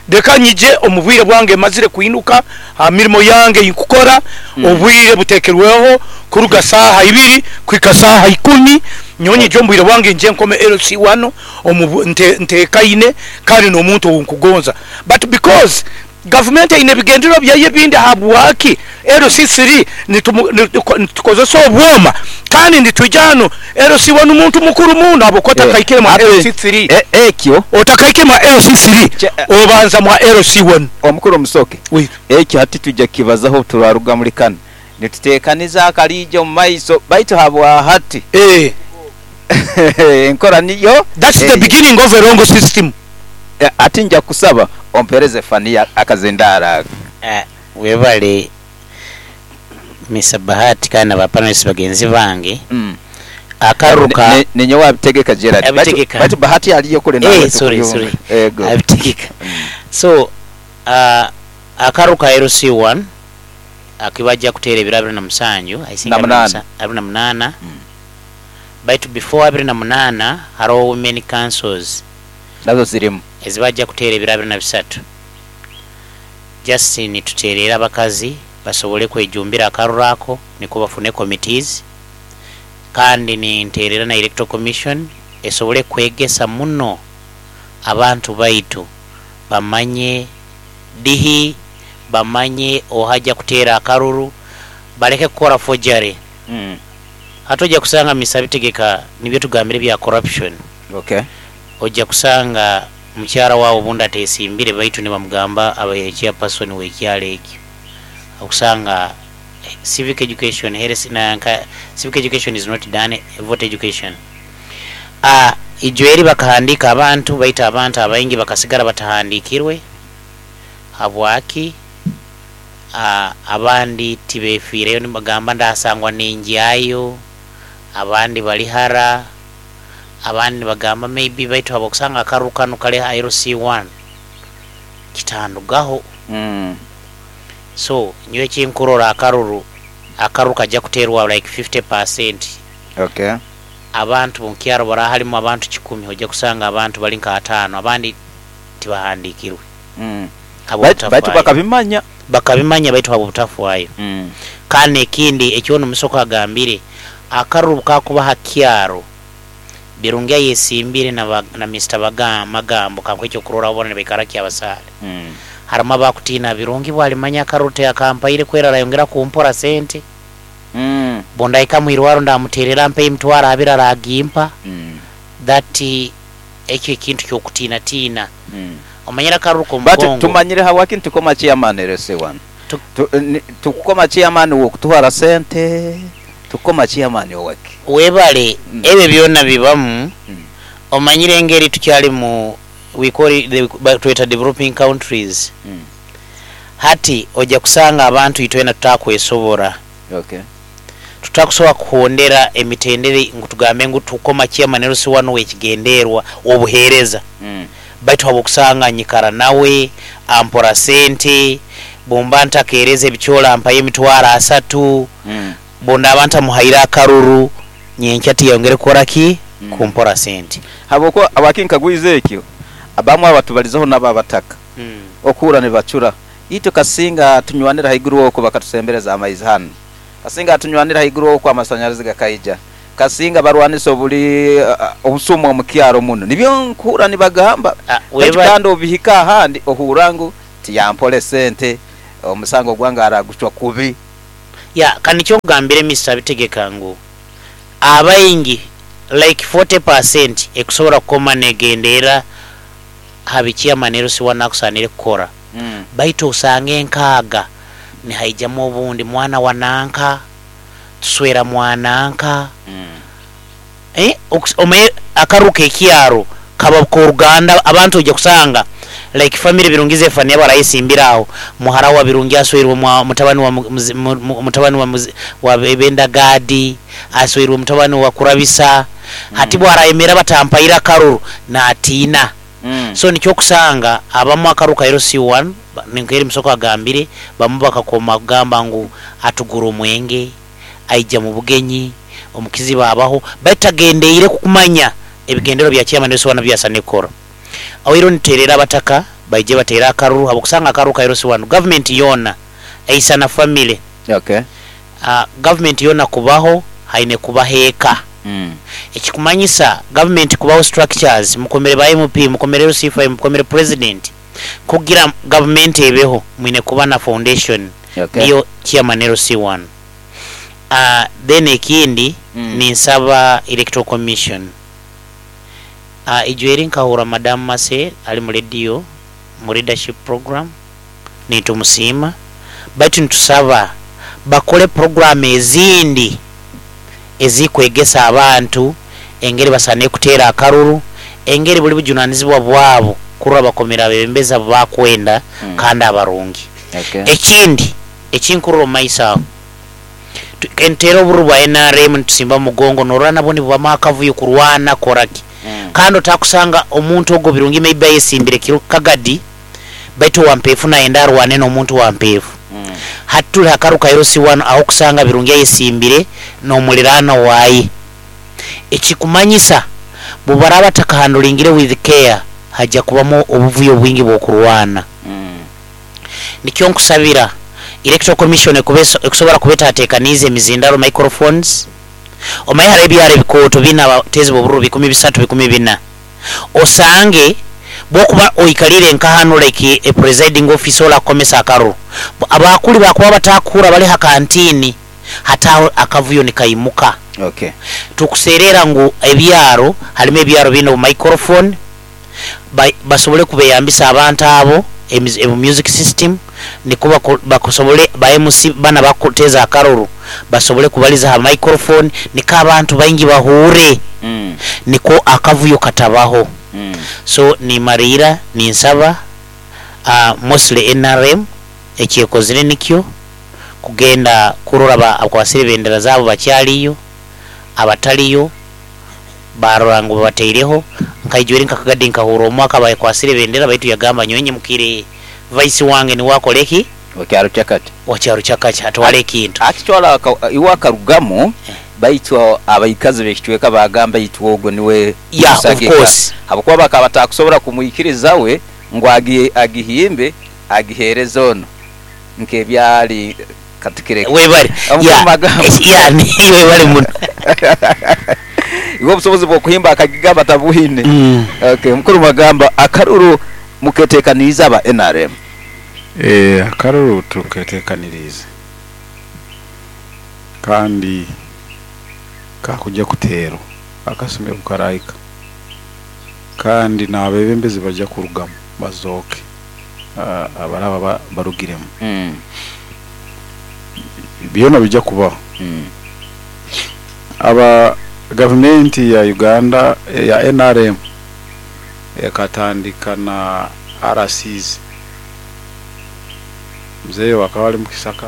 Leka nyije omu bwire bwange mazire kwinuka ha mirimo yange ei nkukora, obwire butekerweho kuruga saaha ibiri kuhika saaha ikumi, nyowe nyije omu bwire bwange nyije nkome LC one omu ntekaine kandi n'omuntu ou nkugonza. But because gavumenti eine ebigendererwa byayo ebindi habwaki LC three nitukozesa obwoma kandi nitwija hanu LC one muntu mukuru muno habwokuba otakaikire mwa LC three Ekyo. Otakaikire mwa LC three obanza mwa LC one. Omukuru Musoke, ekyo hati twija kukibazaho obuturaruga muli kanu. Nitutekaniza akaliija omu maiso baitu habwa hati enkora niyo That's the eyo. beginning of a wrong system. Hati nja kukusaba ompereze Fania akazindaaro ako. Webale Mister Bahati kandi na ba panelists bagenzi bange. Akaruru ka. Ninyowe abitegeka Gerald. Abitegeka. Baitu Bahati aliyo kule nawe Eh, sorry, tukuyunga. sorry. Ego. Abitegeka. So, akaruru ka LC1 akibajja kuteera ebiro abiri na musanju, I think Na munaana. abiri na munaana. Baitu before 28 haroho women councils. Nazo zirimu. Ezibajja kuteera ebiro 23. Just nituteerera abakazi basobole kwejumbira akaruru ako nikwo bafune committees. Kandi ninteerera na Electoral Commission esobole kwegesa muno abantu baitu bamanye dihi, bamanye oha aja kuteera akaruru, baleke kukora forgery. Hati oja kusanga Mister Bitegeka nibyo tugambire ebya corruption. Oja kusanga mukyara wawe obundi atesimbire baitu nibamugamba abaire chairperson w'ekyaro ekyo. Okusanga civic education, health nanka civic education is not done, voter education. Ijo eri bakahandika abantu baitu abantu abaingi bakasigara batahandikirwe. Habwaki? Abandi tibefiireyo nibagamba ndasangwa ningyayo, abandi bali hara, abandi nibagamba maybe baitu habwokusanga akaruru kanu kali ha LC1 kitandugaho. So nyowe ekinkurora akaruru, akaruru kajja kuteerwa like 50%. Abantu omukyaro bara harimu abantu kikumi ojja kusanga abantu bali nka ataano abandi tibahandikirwe. Habw'obutafaayo. Baitu bakabimanya. Bakabimanya baitu habw'obutafaayo. Kandi ekindi ekyonu Musoke agambire, akaruru kakuba ha kyaro Birungi ayesimbire na Mister Magambo kankuhe ekyokurorraho bona nibaikara Kyabasaale. Harimu abakutiina Birungi bwalimanya akaruru tiyakampaire kwera arayongera kumpora sente. Bundahika mwirwaro ndamuterera ampe emitwaro abiri aragimpa. That ekyo ekintu kyokutiinatiina. Omanyire akaruru But k'omugongo. tumanyire habwaki nitukoma chairman LC1. Tukukoma chairman w'okutuhara sente, tukukoma chairman owaki? Webale, ebyo byona bibamu. Omanyire engeri tukyali mu, we call it the, batweta developing countries. Hati oja kusanga abantu itwena tutakwesobora. Tutakusobola kuhondera emitendere ngu tugambe ngu tukoma chairman LC1 w'ekigenderwa obuheereza. Baitu habwokusanga nyikara nawe, ampora sente, bwomba ntakeereza ebicoola ampayo emitwaro asatu, bwondaaba ntamuhaire akaruru, nyenkya tiyongere kukora ki? Kumpora sente. Habwokuba habwaki nkagwiza ekyo, abamwe abatubalizeho nabo abataka. Okuhurra nibacura, itwe kasinga tunywanira haiguru okwo bakatusembereza amaizi hanu. Kasinga tunywanira haiguru okwo amasanyarazi gakaija. Kasinga barwanisa obuli obusuma omu kyaro muno. Nibyo nkuhurra nibagamba. Baitu kandi obihika ahandi ohurra ngu tiyampole sente, omusango gwange aragucwa kubi. Ya kanikyo nkugambire Mister Bitegeka ngu abaingi like 40% ekusobora kukoma negenderra ha bi chairman LC1 akusanire kukora baitu osange enkaaga nihaijamu obundi mwana wa nanka, tuswera mwananka, omanye akaruru kekyaro kaba koruganda abantu oija kusanga like family Birungi Zephania barayesimbire aho muhara wa Birungi asweirwe mutabani wa mutabani wa Benda Gadi asweirwe mutabani wa Kurabisa hati bwarayemera batampaire akaruru natiina so nikyo okusanga abamu akaruru ka LC1 nkeri Musoko agambire bamu bakakoma kugamba ngu atugura omwenge aija mubugenyi omukizibu abaho baitu tagendeire kukumanya ebigendererwa bya chairman LC1 ebi asaine kukora. Oihireho nituterera abataka baije bateere akaruru habwokusanga akaruru ka LC1 gavumenti yoona eisana family. Gavumenti yoona kubaho haine kubaho eka. Ekikumanyisa gavumenti kubaho structures mukomere ba MP, mukomere LC5, mukomere president kugira gavumenti ebeho mwine kuba na foundation niyo chairman LC1. Then ekindi ninsaba electoral commission. Ijweri nkahura Madam Mase ali mu radio mu leadership program nitumusiima baitu nitusaba bakole program ezindi ezikwegesa abantu engeri basaine kuteera akaruru, engeri buli bujunanizibwa bwabo kurora bakomera abebembezi abu bakwenda kandi abarungi. Ekindi ekinkurora omu maiso aho, nituteera obururu bwa NRM nitusimba mugongo norora nabwo nibubamu akavuyo kurwana koraki. Kandi otakusanga omuntu ogwo Birungi maybe ayesimbire kiro Kagadi baitu owa Mpeefu nayenda arwane n'omuntu wa Mpeefu. Hati turi hakaru ka LC1 aho kusanga Birungi ayesimbire n'omuliraano waye. Ekikumanyisa bubaraba batakahandulingire with care haja kubamu obuvuyo bwingi bw'okurwana. Nikyo nkusabira Electoral Commission ekusobora kuba etatekaniize emizindaro microphones. Omaye hariho ebyaro ebikooto biine abateezi b'obururu bikumi bisatu bikumi bina. Osange bwokuba oikalire nka hanu like a presiding officer orakukomesa akaruru, abakuli bakuba batakuhurra bali ha kantini hati aho akavuyo nikaimuka. Tukuserera ngu ebyaro harimu ebyaro biine obu microphone basobole kubeyambisa abantu abo ebu music system niko bakusobole ba MC bana bakuteza akaruru basobole kubaliza ha microphone niko abantu baingi bahure niko akavuyo katabaho. So nimarira ninsaba mostly NRM ekyekozire nikyo kugenda kurora abakwasire bendera zabo bakyaliyo abataliyo barora ngu babateireho nkaijwere nkakagadi nkahura omwaka bakwasire bendera baitu yagamba nyowe mukire vice wange ni wakoleki wakyaro kyakati wakyaro kyakati atwale ekintu akitwala iwe akarugamu baitu abaikazi bekicweka bagamba itwe ogwo niwe Yeah, of course. Habwokuba bakaba batakusobora kumwikiriza we ngu agihimbe agihereze ono nkebyali katukire webale ya webale muno iwe obusobozi bw'okuhimba akagigamba tabuhine. Okay, mukuru magamba akaruru muketekaniriza aba NRM. Akaruru tuketekanirize kandi kakujja kuteerwa akasumi bukaraika kandi n'abebembezi bajja kurugamu bazooke abaraba barugiremu. Byona bijja kubaho. Aba gavumenti ya Uganda ya NRM ekatandika na RCs. Mzee wakaba ali mukisaka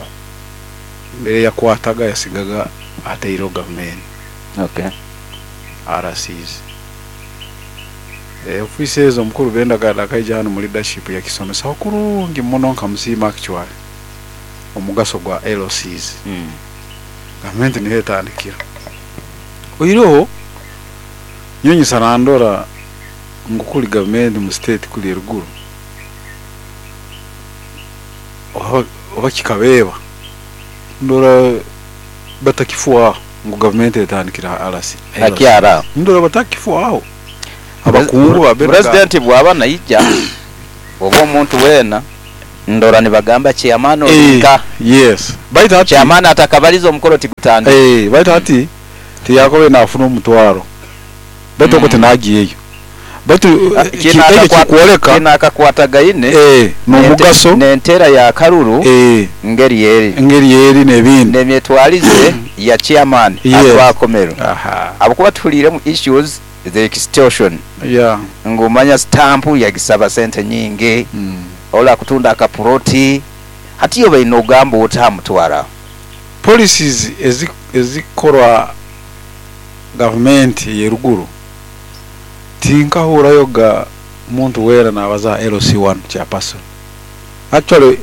mbere yakwataga yasigaga ateireho gavumenti. RCs. Ofiisi ezo omukuru Benda akaija hano mu leadership yakisomesaho kurungi muno nkamusiima actually omugaso gwa LCs. Gavumenti niho etandikira. Oihireho nyonyesa nandora ngu kuli gavumenti mu state kuli eruguru oba kikabeeba ndora batakifuaho. Ngu gavumenti etandikira ha RC. Hakyara aho. Ndora batakifwaho abakungu ba Benda. Pulezidenti bwaba naija oba omuntu weena, ndora nibagamba chairman olinka. Yes, baitu hati Chairman atakabaliza omukoro tigutandika. Baitu hati tiyakobe nafuna omutwaro, baitu okwo tinagiyeyo, baitu ekyo kikwoleka Kino akakwatagaine n'omugaso n'enteera ya karuru ngeri eri. Engeri eri n'ebindi. N'emyetwarize ya chairman atwakomero. Ahabw'okuba tuhuliiremu issues the extortion. Ngu manya stamp yagisaba sente nyingi, ora akutunda akapuroti, hati yo baine ogamba ota aha mutwaro aho? Policies ezikorwa gavumenti ey'eruguru tinkahurayo ga muntu weena nabaza ha LC1 chairperson. Actually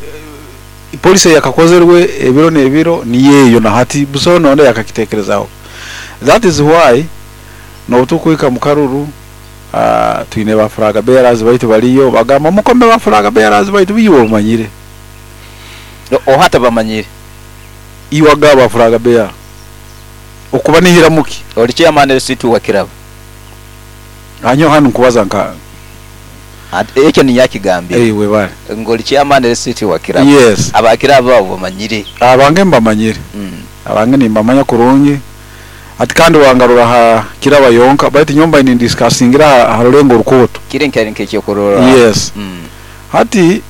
policy eyakakozerwe ebiro n'ebiro niyo eyo, na hati busaho nonde yakakitekerezaho. That is why n'obutukuhika mu karuru, twine ba flag bearers baitu baliyo bagamba mukome ba flag bearers baitu, iwe omanyire. Oha tabamanyire? Iwe agaba ba flag bearer okuba nihiramuki? Oli chairman LC2 wa Kiraba. Anyo hanu nkubaza nka Ekyo niyo akigambire. Webale. Ngu oli chairman LC2 wa Kiraba. Yes. Abakiraba abo bamanyire. Abange mbamanyire. Abange nimbamanya kurungi. Ati kandi wangarura ha Kiraba yonka, baitu nyomba ni discussingira ha rulengo rukoto. Kiri nkari nk'ekyokurora. Yes. Hati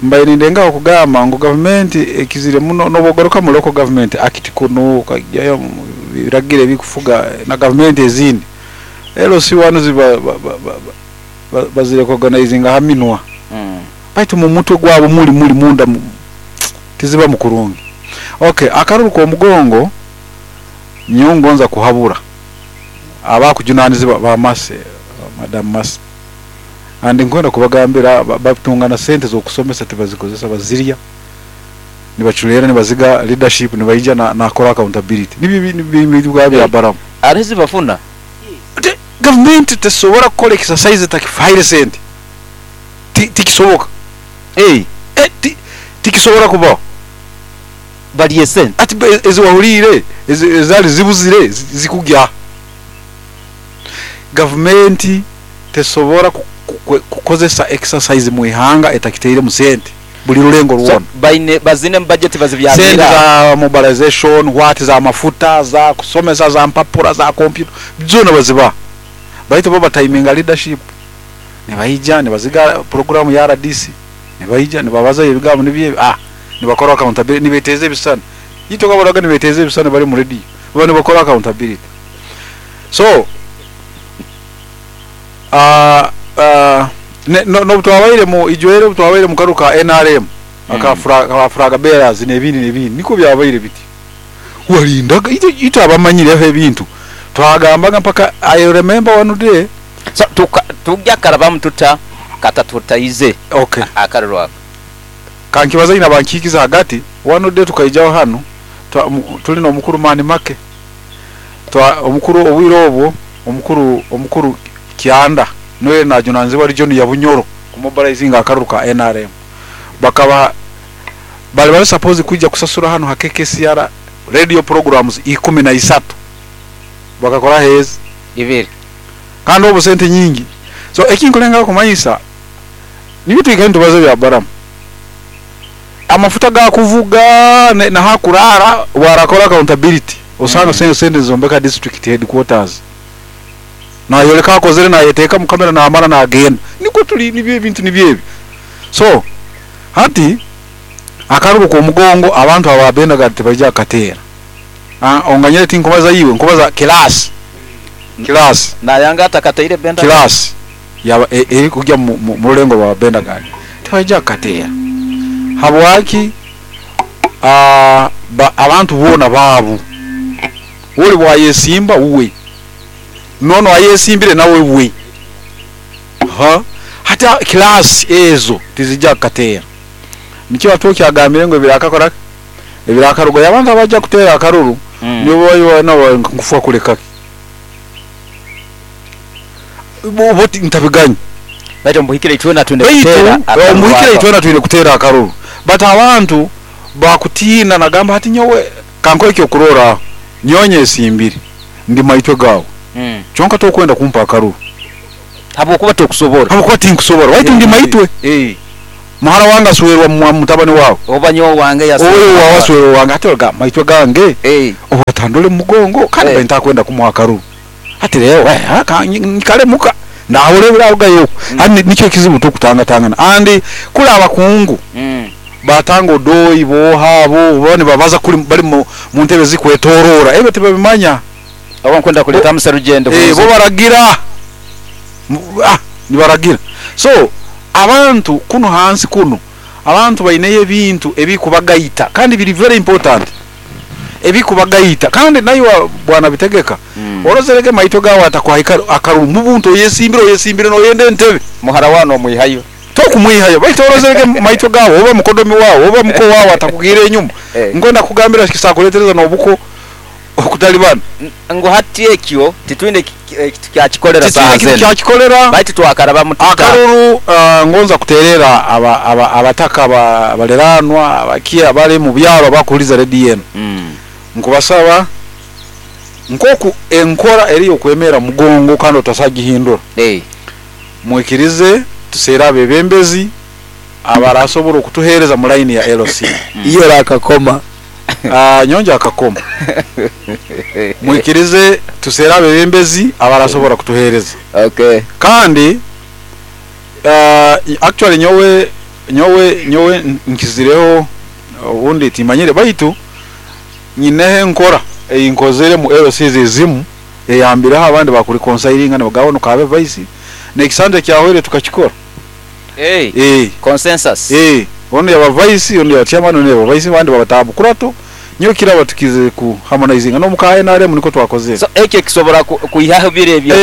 mbaire nindengaho kugamba ngu gavumenti ekizire muno n'obugaruka mu local government act kuno ukajyayo mu biragiro ebikufuga na gavumenti ezindi. LC1 ziba bazirecognizinga ha minwa. Baitu mu mutwe gwabo muri munda tiziba mukurungi. Okay, akaruru k'omugongo nyongonza kuhabura abakujunanizibwa ba Mase, Madam Mase. Andi nkwenda kubagambira batungana sente z'okusomesa tibazikozesa, bazirya nibachulera nibaziga leadership nibaija na kora accountability. Nibyo bintu bwa bya baramu. Arezi bafuna. Government tesobora kukola exercise takifaire sente. Tikisoboka. Tikisobora kubaho. Baliye sente. Ati eziwahulire, ezali zibuzire, zikugya. Government tesobora kukozesa exercise mu ihanga etakiteire mu sente. Buli rulengo So, ruwona. baine bazine mu budget bazibyamira. Sente za mobilization, what za mafuta, za kusomesa, za mpapura, za computer, zona baziba. Baitu bo batiminga leadership. Nibaija nibaziga program ya RDC. Nibaija nibabaza ebigambo nibye, nibakora accountability, nibeteze ebisana. Yito kabaraga nibeteze ebisana bari mu radio. Bo nibakora accountability. So, no twabaire mu ijwere, twabaire mu karuka NRM, aka flag bearers n'ebindi n'ebindi, niko byabaire biti. Walindaga ito abamanyireho ebintu. Twagambaga mpaka I remember one day. So, tujya karabamu tuta kata tutaize. Okay. Akaruru ako. Kankibaza ina bankikiza hagati, one day tukaijaho hano, tuli no mukuru mani make. Twa omukuru obwiro obwo, omukuru Kianda noye na junanzibwa region ya Bunyoro kumobilizing akaruru ka NRM. Bakaba bali bali suppose kuja kusasura hano ha KKCR radio programs 13. Bakakora hezi ibiri. Kandi obo sente nyingi. So ekinkulenga kumanyisa nibitu ikintu baze bya baramu. Amafuta ga kuvuga na hakurara warakora accountability. Osanga sente zombeka district headquarters. Na yoleka akozere na yeteka mu kamera na amara na agenda. Niko tuli nibyo ebintu nibyo ebi. So hati akaruru ku mugongo abantu ababenda gati bajya katera. Onganyere tinkubaza yiwe nkubaza class. Class. Na yanga atakataire benda. Class. Ya eri kujya mu rulengo ba benda gani. Tibajya katera. Habwaki abantu bona babu. Woli bwayesimba uwe. Nono ayesimbire nawe we. Ha? Hata class ezo tizijja katera. Nikyo atoki agambire ngo birakakora ebirakarugo yabantu abajja kutera akaruru. Nibo bayo nabo nkufa kuleka. Boti ntabiganya. Baitu mbuhikire itwena twende kutera akaruru. Mbuhikire itwena twende kutera akaruru. But abantu bakutina nagamba hati nyowe kanko ekyo kurora. Nyonye esimbire ndi maitwe gawe. Kyonka tokwenda kumpa akaruru habwokuba tokusobora. Habwokuba tinkusobora, waitu ndi maitwe. Muhara wange aswerwa mutabani wawe. Oba nyowe wange yaswerwa. Owe wawe aswerwa wange ate oga maitwe gange. Oba tandole mugongo kandi ntakwenda kumuha akaruru. Ati rero nkale muka ndahore birarugayo. Ani nicyo kizibu tukutangatangana. Andi kuri abakungu. Batanga odoi boha bo bone babaza kuri bari mu ntebe zikwetorora ebe tebabimanya. Abo nkwenda kuleta muserugendo. Bo baragira. Nibaragira. So abantu kuno hansi kuno abantu baineye ebintu ebikubagaita kandi biri very important. Ebikubagaita kandi nayo bwana bitegeka. Orozereke maito gawe atakwahika akaruru mubuntu oyesimbire noyende entebe. Muhara wano omwihayo. Tokumwihayo baitu orozereke maito gawe oba mukodomi wawe oba muko wawe atakugire enyuma. Ngwenda kugambira kisakuletereza nobuko okutalibana. Ngo hati ekyo titwine kyakikolera saazene. Kyakikolera baitu twakaraba mutuka. Akaruru ngonza kuterera abataka abaleranwa abakia bali mu byalo bakuliza redi yenu. Nkubasaba nkoku enkora eri okwemera mugongo kandi otasagihindura. Mwikirize tusera abebembezi abarasobora okutuhereza mu line ya LC. Iyo rakakoma. Nyonja akakoma. Mwikirize tusera abebembezi abarasobora kutuhereza. Okay. Kandi actually nyowe nkizireho ubundi timanyire baitu nyinehe nkora eyinkozere mu LC zizimu eyambiraho abandi bakuri conseilingana bagabo kabe vice nekisande kyahwere tukakikora. Consensus. Ono yaba vice ono ya chairman ono yaba vice bandi babatabu kurato nyo kiraba tukize ku harmonizing no muka NRM niko twakoze. So ekyo kisobora kuihaho bire ebyo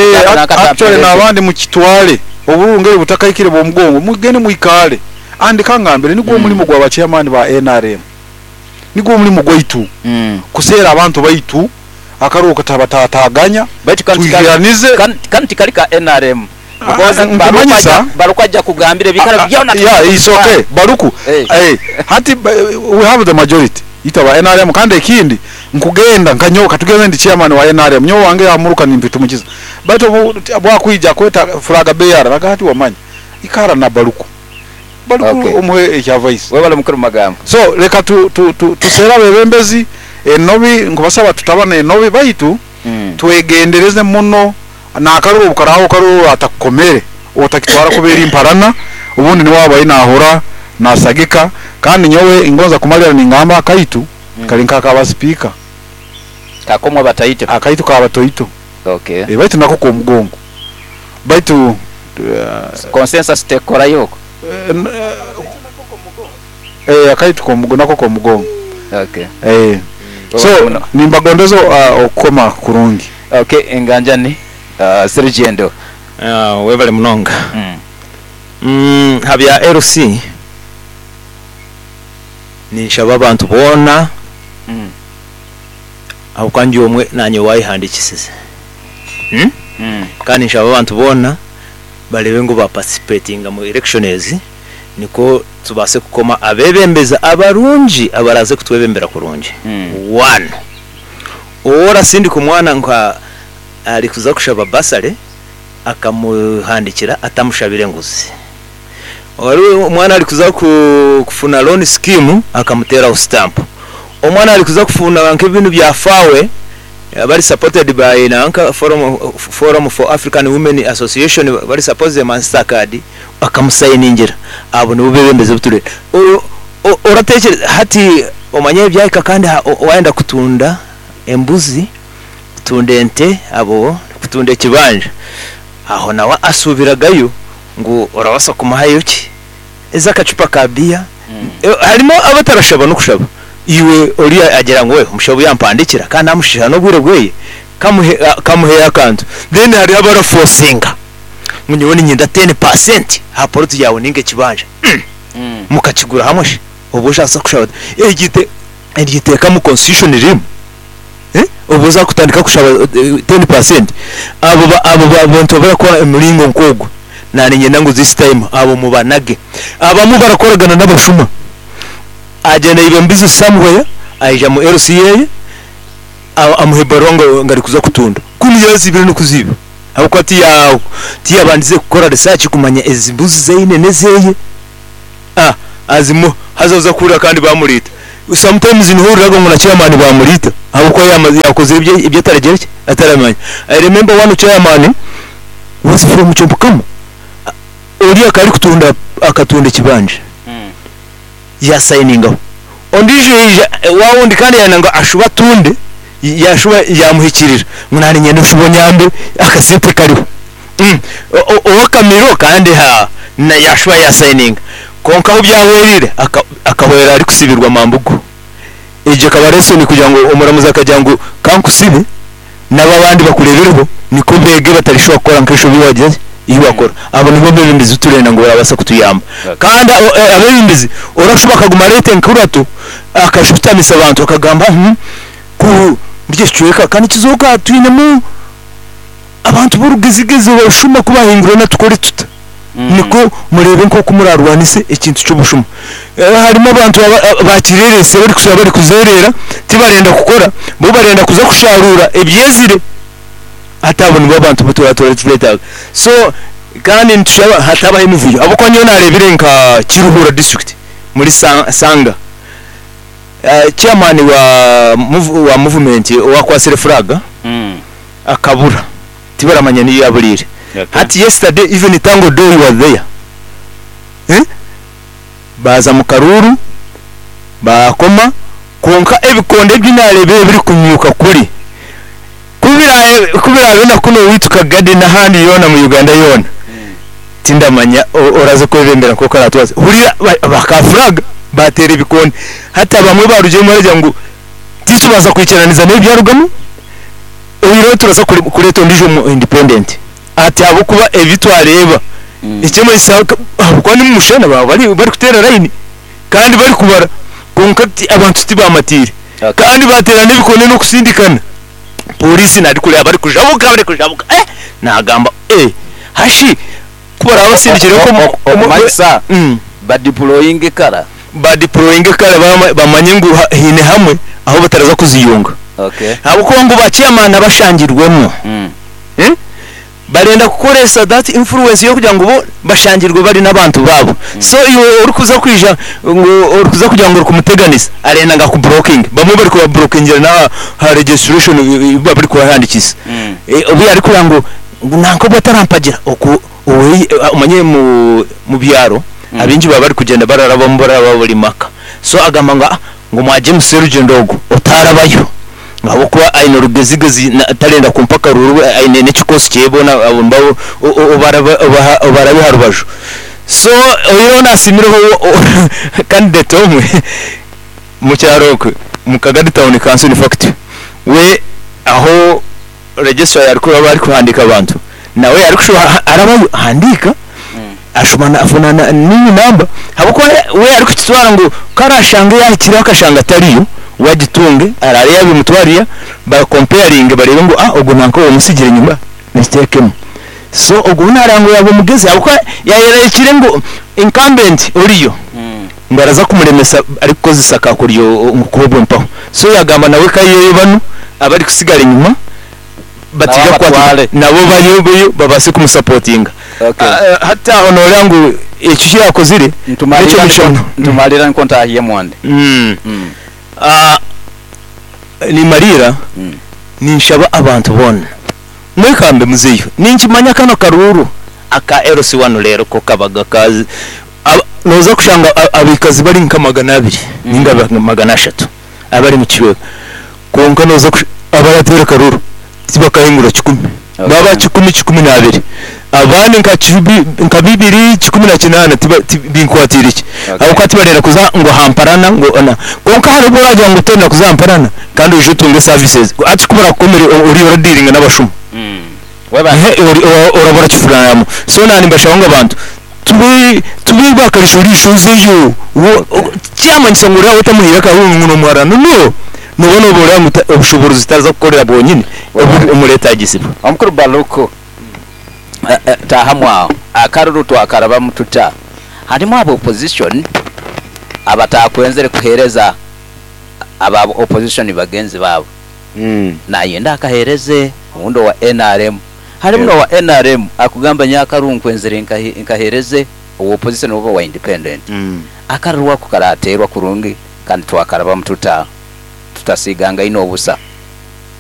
actually nabandi mu kitwale oburungere butakaikire bo mugongo mugende muikale andi kangambire nigwo mulimo gwa chairman ba NRM nigwo mulimo gwaitu kusera abantu baitu akaruka tabatataganya baitu kanti kalika NRM baruka kugambire bikara byona. Yeah, it's okay baruku. Hati we have the majority itaba NRM kandi ekindi nkugenda nkanyoka tugende ndi chairman wa NRM nyo wange amuruka nimpitumukiza baitu bwakwija kweta flaga bear bagati wamanya ikara na baruku okay. Omuhe ekya vice webale mukuru magambo. So leka tu tusera bebembezi enobi nkubasaba tutabana enobi baitu twegendereze muno na akaruru bukaraho karuru atakomere otakitwara kubera imparana ubundi ni waba inahora nasagika kandi nyowe ingonza kumalira ningamba akaitu kali nkaka speaker kakomwa bataite akaitu ka batoito. Okay. Baitu nako ko mugongo baitu consensus tekora yoko akaitu ko mugongo nako ko mugongo. Okay. So nimbagondezo okoma kurungi. Okay, enganjani Serugendo. Webale munonga. Habya LC ninshaba abantu bona aho kandi omwe nanye wayihandikisize. Kandi nshaba abantu bona barebe ngo ba participatinga mu elections niko tubase kukoma abebembeza abarungi abaraze kutwebembera kurungi. One ora sindi kumwana nka ali kuza kushaba basale akamuhandikira atamushabire nguzi. Wali omwana ali kuza kufuna loan scheme akamutera stamp. Omwana ali kuza kufuna nk'ebintu bya fawe bali supported by nanka Forum for African Women Association bali support the Mastercard akamusayiningira abo nibo bebembeze buture. Oratekereza hati omanye byayika kandi waenda kutunda embuzi kutunda ente abo kutunda ekibanja aho nawe asubiragayo ngo orabasa kumuhayo ki eza akacupa ka bia. Harimo abatarashaba no kushaba iwe ori agira ngo we umushabu yampandikira kandi amushisha no bwire bweye kamuhe akantu then hari abaraforcinga munyibone nyinda 10% haporoti yawe ninge kibanja mukakigura hamwe she ubu ushaka kushaba egite egiteka mu constitution rim ubu uza kutandika kushaba 10% abo bantu barakora emiringo nkogo nani nyenda ngo this time abo mubanage abamu barakoragana n'abashuma agenda ibe mbizi somewhere aija mu LCA Amuha ebaruha ngu arikuza kutunda kunu yazibire n'okuziba ahabw'okuba tiya tiyabandize kukora research kumanya ezi mbuzi zaine n'ezeye azimuha haza oza kuhurira kandi bamuriita. Sometimes niho ohuriraga ngu na chairman bamuriita ahabw'okuba yakozire ebi ataragira ki ataramanya. I remember one chairman was from Kyobukama ori akaba arikutunda akatunda ekibanja yasayiningaho ondiijo yaija waawundi kandi yayenda ngu ashube atunde yashuba yamuhikirira ngu naanye niinyenda oshube onyambe akasente kariho. Ow'akamiro kandi haa yashuba yasayininga kwonka ahu byahwereire akahwera arikusibirwa mambugu. Egyo ekaba lesson kugira ngu omuramuzi akagira ngu kankusibe nabo abandi bakureebereho nikwo beege batarishuba kukora nk'enshobi ei wagira ki ei wakora. Abo nibo bebembezi bu turenda ngu barabaasa kutuyamba. Kandi abebembezi orashuba akaguma areeta enkurato akashutamisa abantu akagamba ku omuri eki kicweka ka nikizooka twinemu abantu b'orugezigezi obushuma ku baahingurana tukore tuta? Nikwo mureebe nk'oku muraarwanise ekintu ky'obushuma. Harimu abantu bakireerese barikushusha barikuzeereera tibarenda kukora, bo barenda kuza kusharuura ebyezire. Hati abo nibo abantu abu turaba tureetaaga. So kandi nitushaba hatabaho emivuyo ahabw'okuba nyowe naareebire nka Kiruhura district muri Sanga, chairman wa movement owakwatsire flag akabura tibaramanya niyo yaburiire. Hati yesterday even Tanga Odoi was there baaza mu karuuru baakoma kwonka ebikondo ebi naareebire birikunyuuka kuri ku biraabe na kunu owaitu Kagadi n'ahandi yoona mu Uganda yoona tindamanya oraza kwebembera nk'oku aratwaza. Hurira ba flag baateera ebikonde hati abamwe baarugiremu baragira ngu titubaasa kwikiraniza n'ebyarugamu oihireho turaza kureeta ondiijo omu independent ati ahabw'okuba ebi twareeba eky'amanyisa ahabw'okuba ni mumushana baaba barikuteera layini kandi barikubara kwonka abantu tibamatiire kandi baateera n'ebikondo n'okusindikana pooriisi narikureeba barikujabuka barikujabuka eh nagamba eh hashi ku baraba basindikire Okumanyisa badiployinge kara. Badiployinge kara bamanye ngu haine hamwe ahu bataraza kuziyunga. Ahabw'okuba ngu ba chairman abashangirwemu barenda kukoresa that influence y'okugira ngu bo bashangirwe bari n'abantu baabo. So iwe orikuza kwija ngu orikuza kugira ngu orikumuteganisa arenda ngu akuburokinge. Bamwe barikubaburokingira n'aha registration ei barikubahandiikisa. Obu yaarikureeba ngu nanka obu atarampagira oku omanyire mu byaro abaingi baba barikugyenda bararabamu bararaba buri maka. So agamba ngu ngu mwagye Serugyendo ogu otarabayo ahabw'okuba aine orugezigezi tarenda kumpa akaruuru we aine n'ekikoosi kyeye boona abo nibo obarabe aha rubaju. So oihireho naasiimireho candidate omwe omu kyaro okwe omu Kagadi town council in fact we aho registrar yaarikuba arikuhandiika abantu nawe yaarikushuba arabayo ahandiika ashuma afuna nini namba ahabw'okuba we arikukitwara ngu ku araashange yaahikireho akashanga atariyo we agitunge araare yaabimutwarira ba comparinge bareebe ngu ogu nanka ou omusigire enyima nakiteekemu. So ogwo we naareeba ngu yaaba omugezi ahabw'okuba yaayerekire ngu incumbent oriyo ngu araza kumuremesa arikukozesa kakoryo ngu kuba mpaho. So yaagamba nawe ka ayiheyo banu abarikusigara enyima bataija kukwatibwa nabo bayeyo babaase kumusapotinga. Hati aho nooreeba ngu ekyo eki yaakozire n'eky'omugisha muno. Ntumalira nikwo ntahiemu andi. Nimariira ninshaba abantu boona mwekambe muzeyo. Ninkimanya kanu akaruuru aka LC wanu reero ko kabaga ka nooza kushanga abaikazi bari nka 200 ninga 300 abari mu kicweka kwonka nooza abarateera akaruuru tibakahingura 100 baba 100 12 abandi nka 2 18 binkwatiire ki ahabw'okuba tibarenda kuza ngu aha mparana ngu na kwonka hariho obu oragira ngu torenda kuza aha mparana kandi oije otunge services hati ku barakukomere oriyo oradiiringa n'abashuma oraba orakifuranamu so naanye nimbashaba ngu abantu tube tube bakarisho-risho ozeyo tikyamanyisa ngu oraabe otamuhaire akaruuru ngu nomuharana no nooba nooba ngu obushoboorozi taraza kukorera bwonyini oburimuretagisibwa. Omukuru Baluku, taahamu aho. Akaruru twakarabamu tuta? Harimu aba opposition abatakwenzire kuheereza aba opposition bagenzi baabo. Nayenda akahereze obundi owa NRM. Harimu n'owa NRM akugamba nyowe akaruru nkwenzire nkahereze owa opposition oba owa independent. Akaruru ako karaterwa kurungi kandi twakarabamu tuta tutasiigangaine obusa.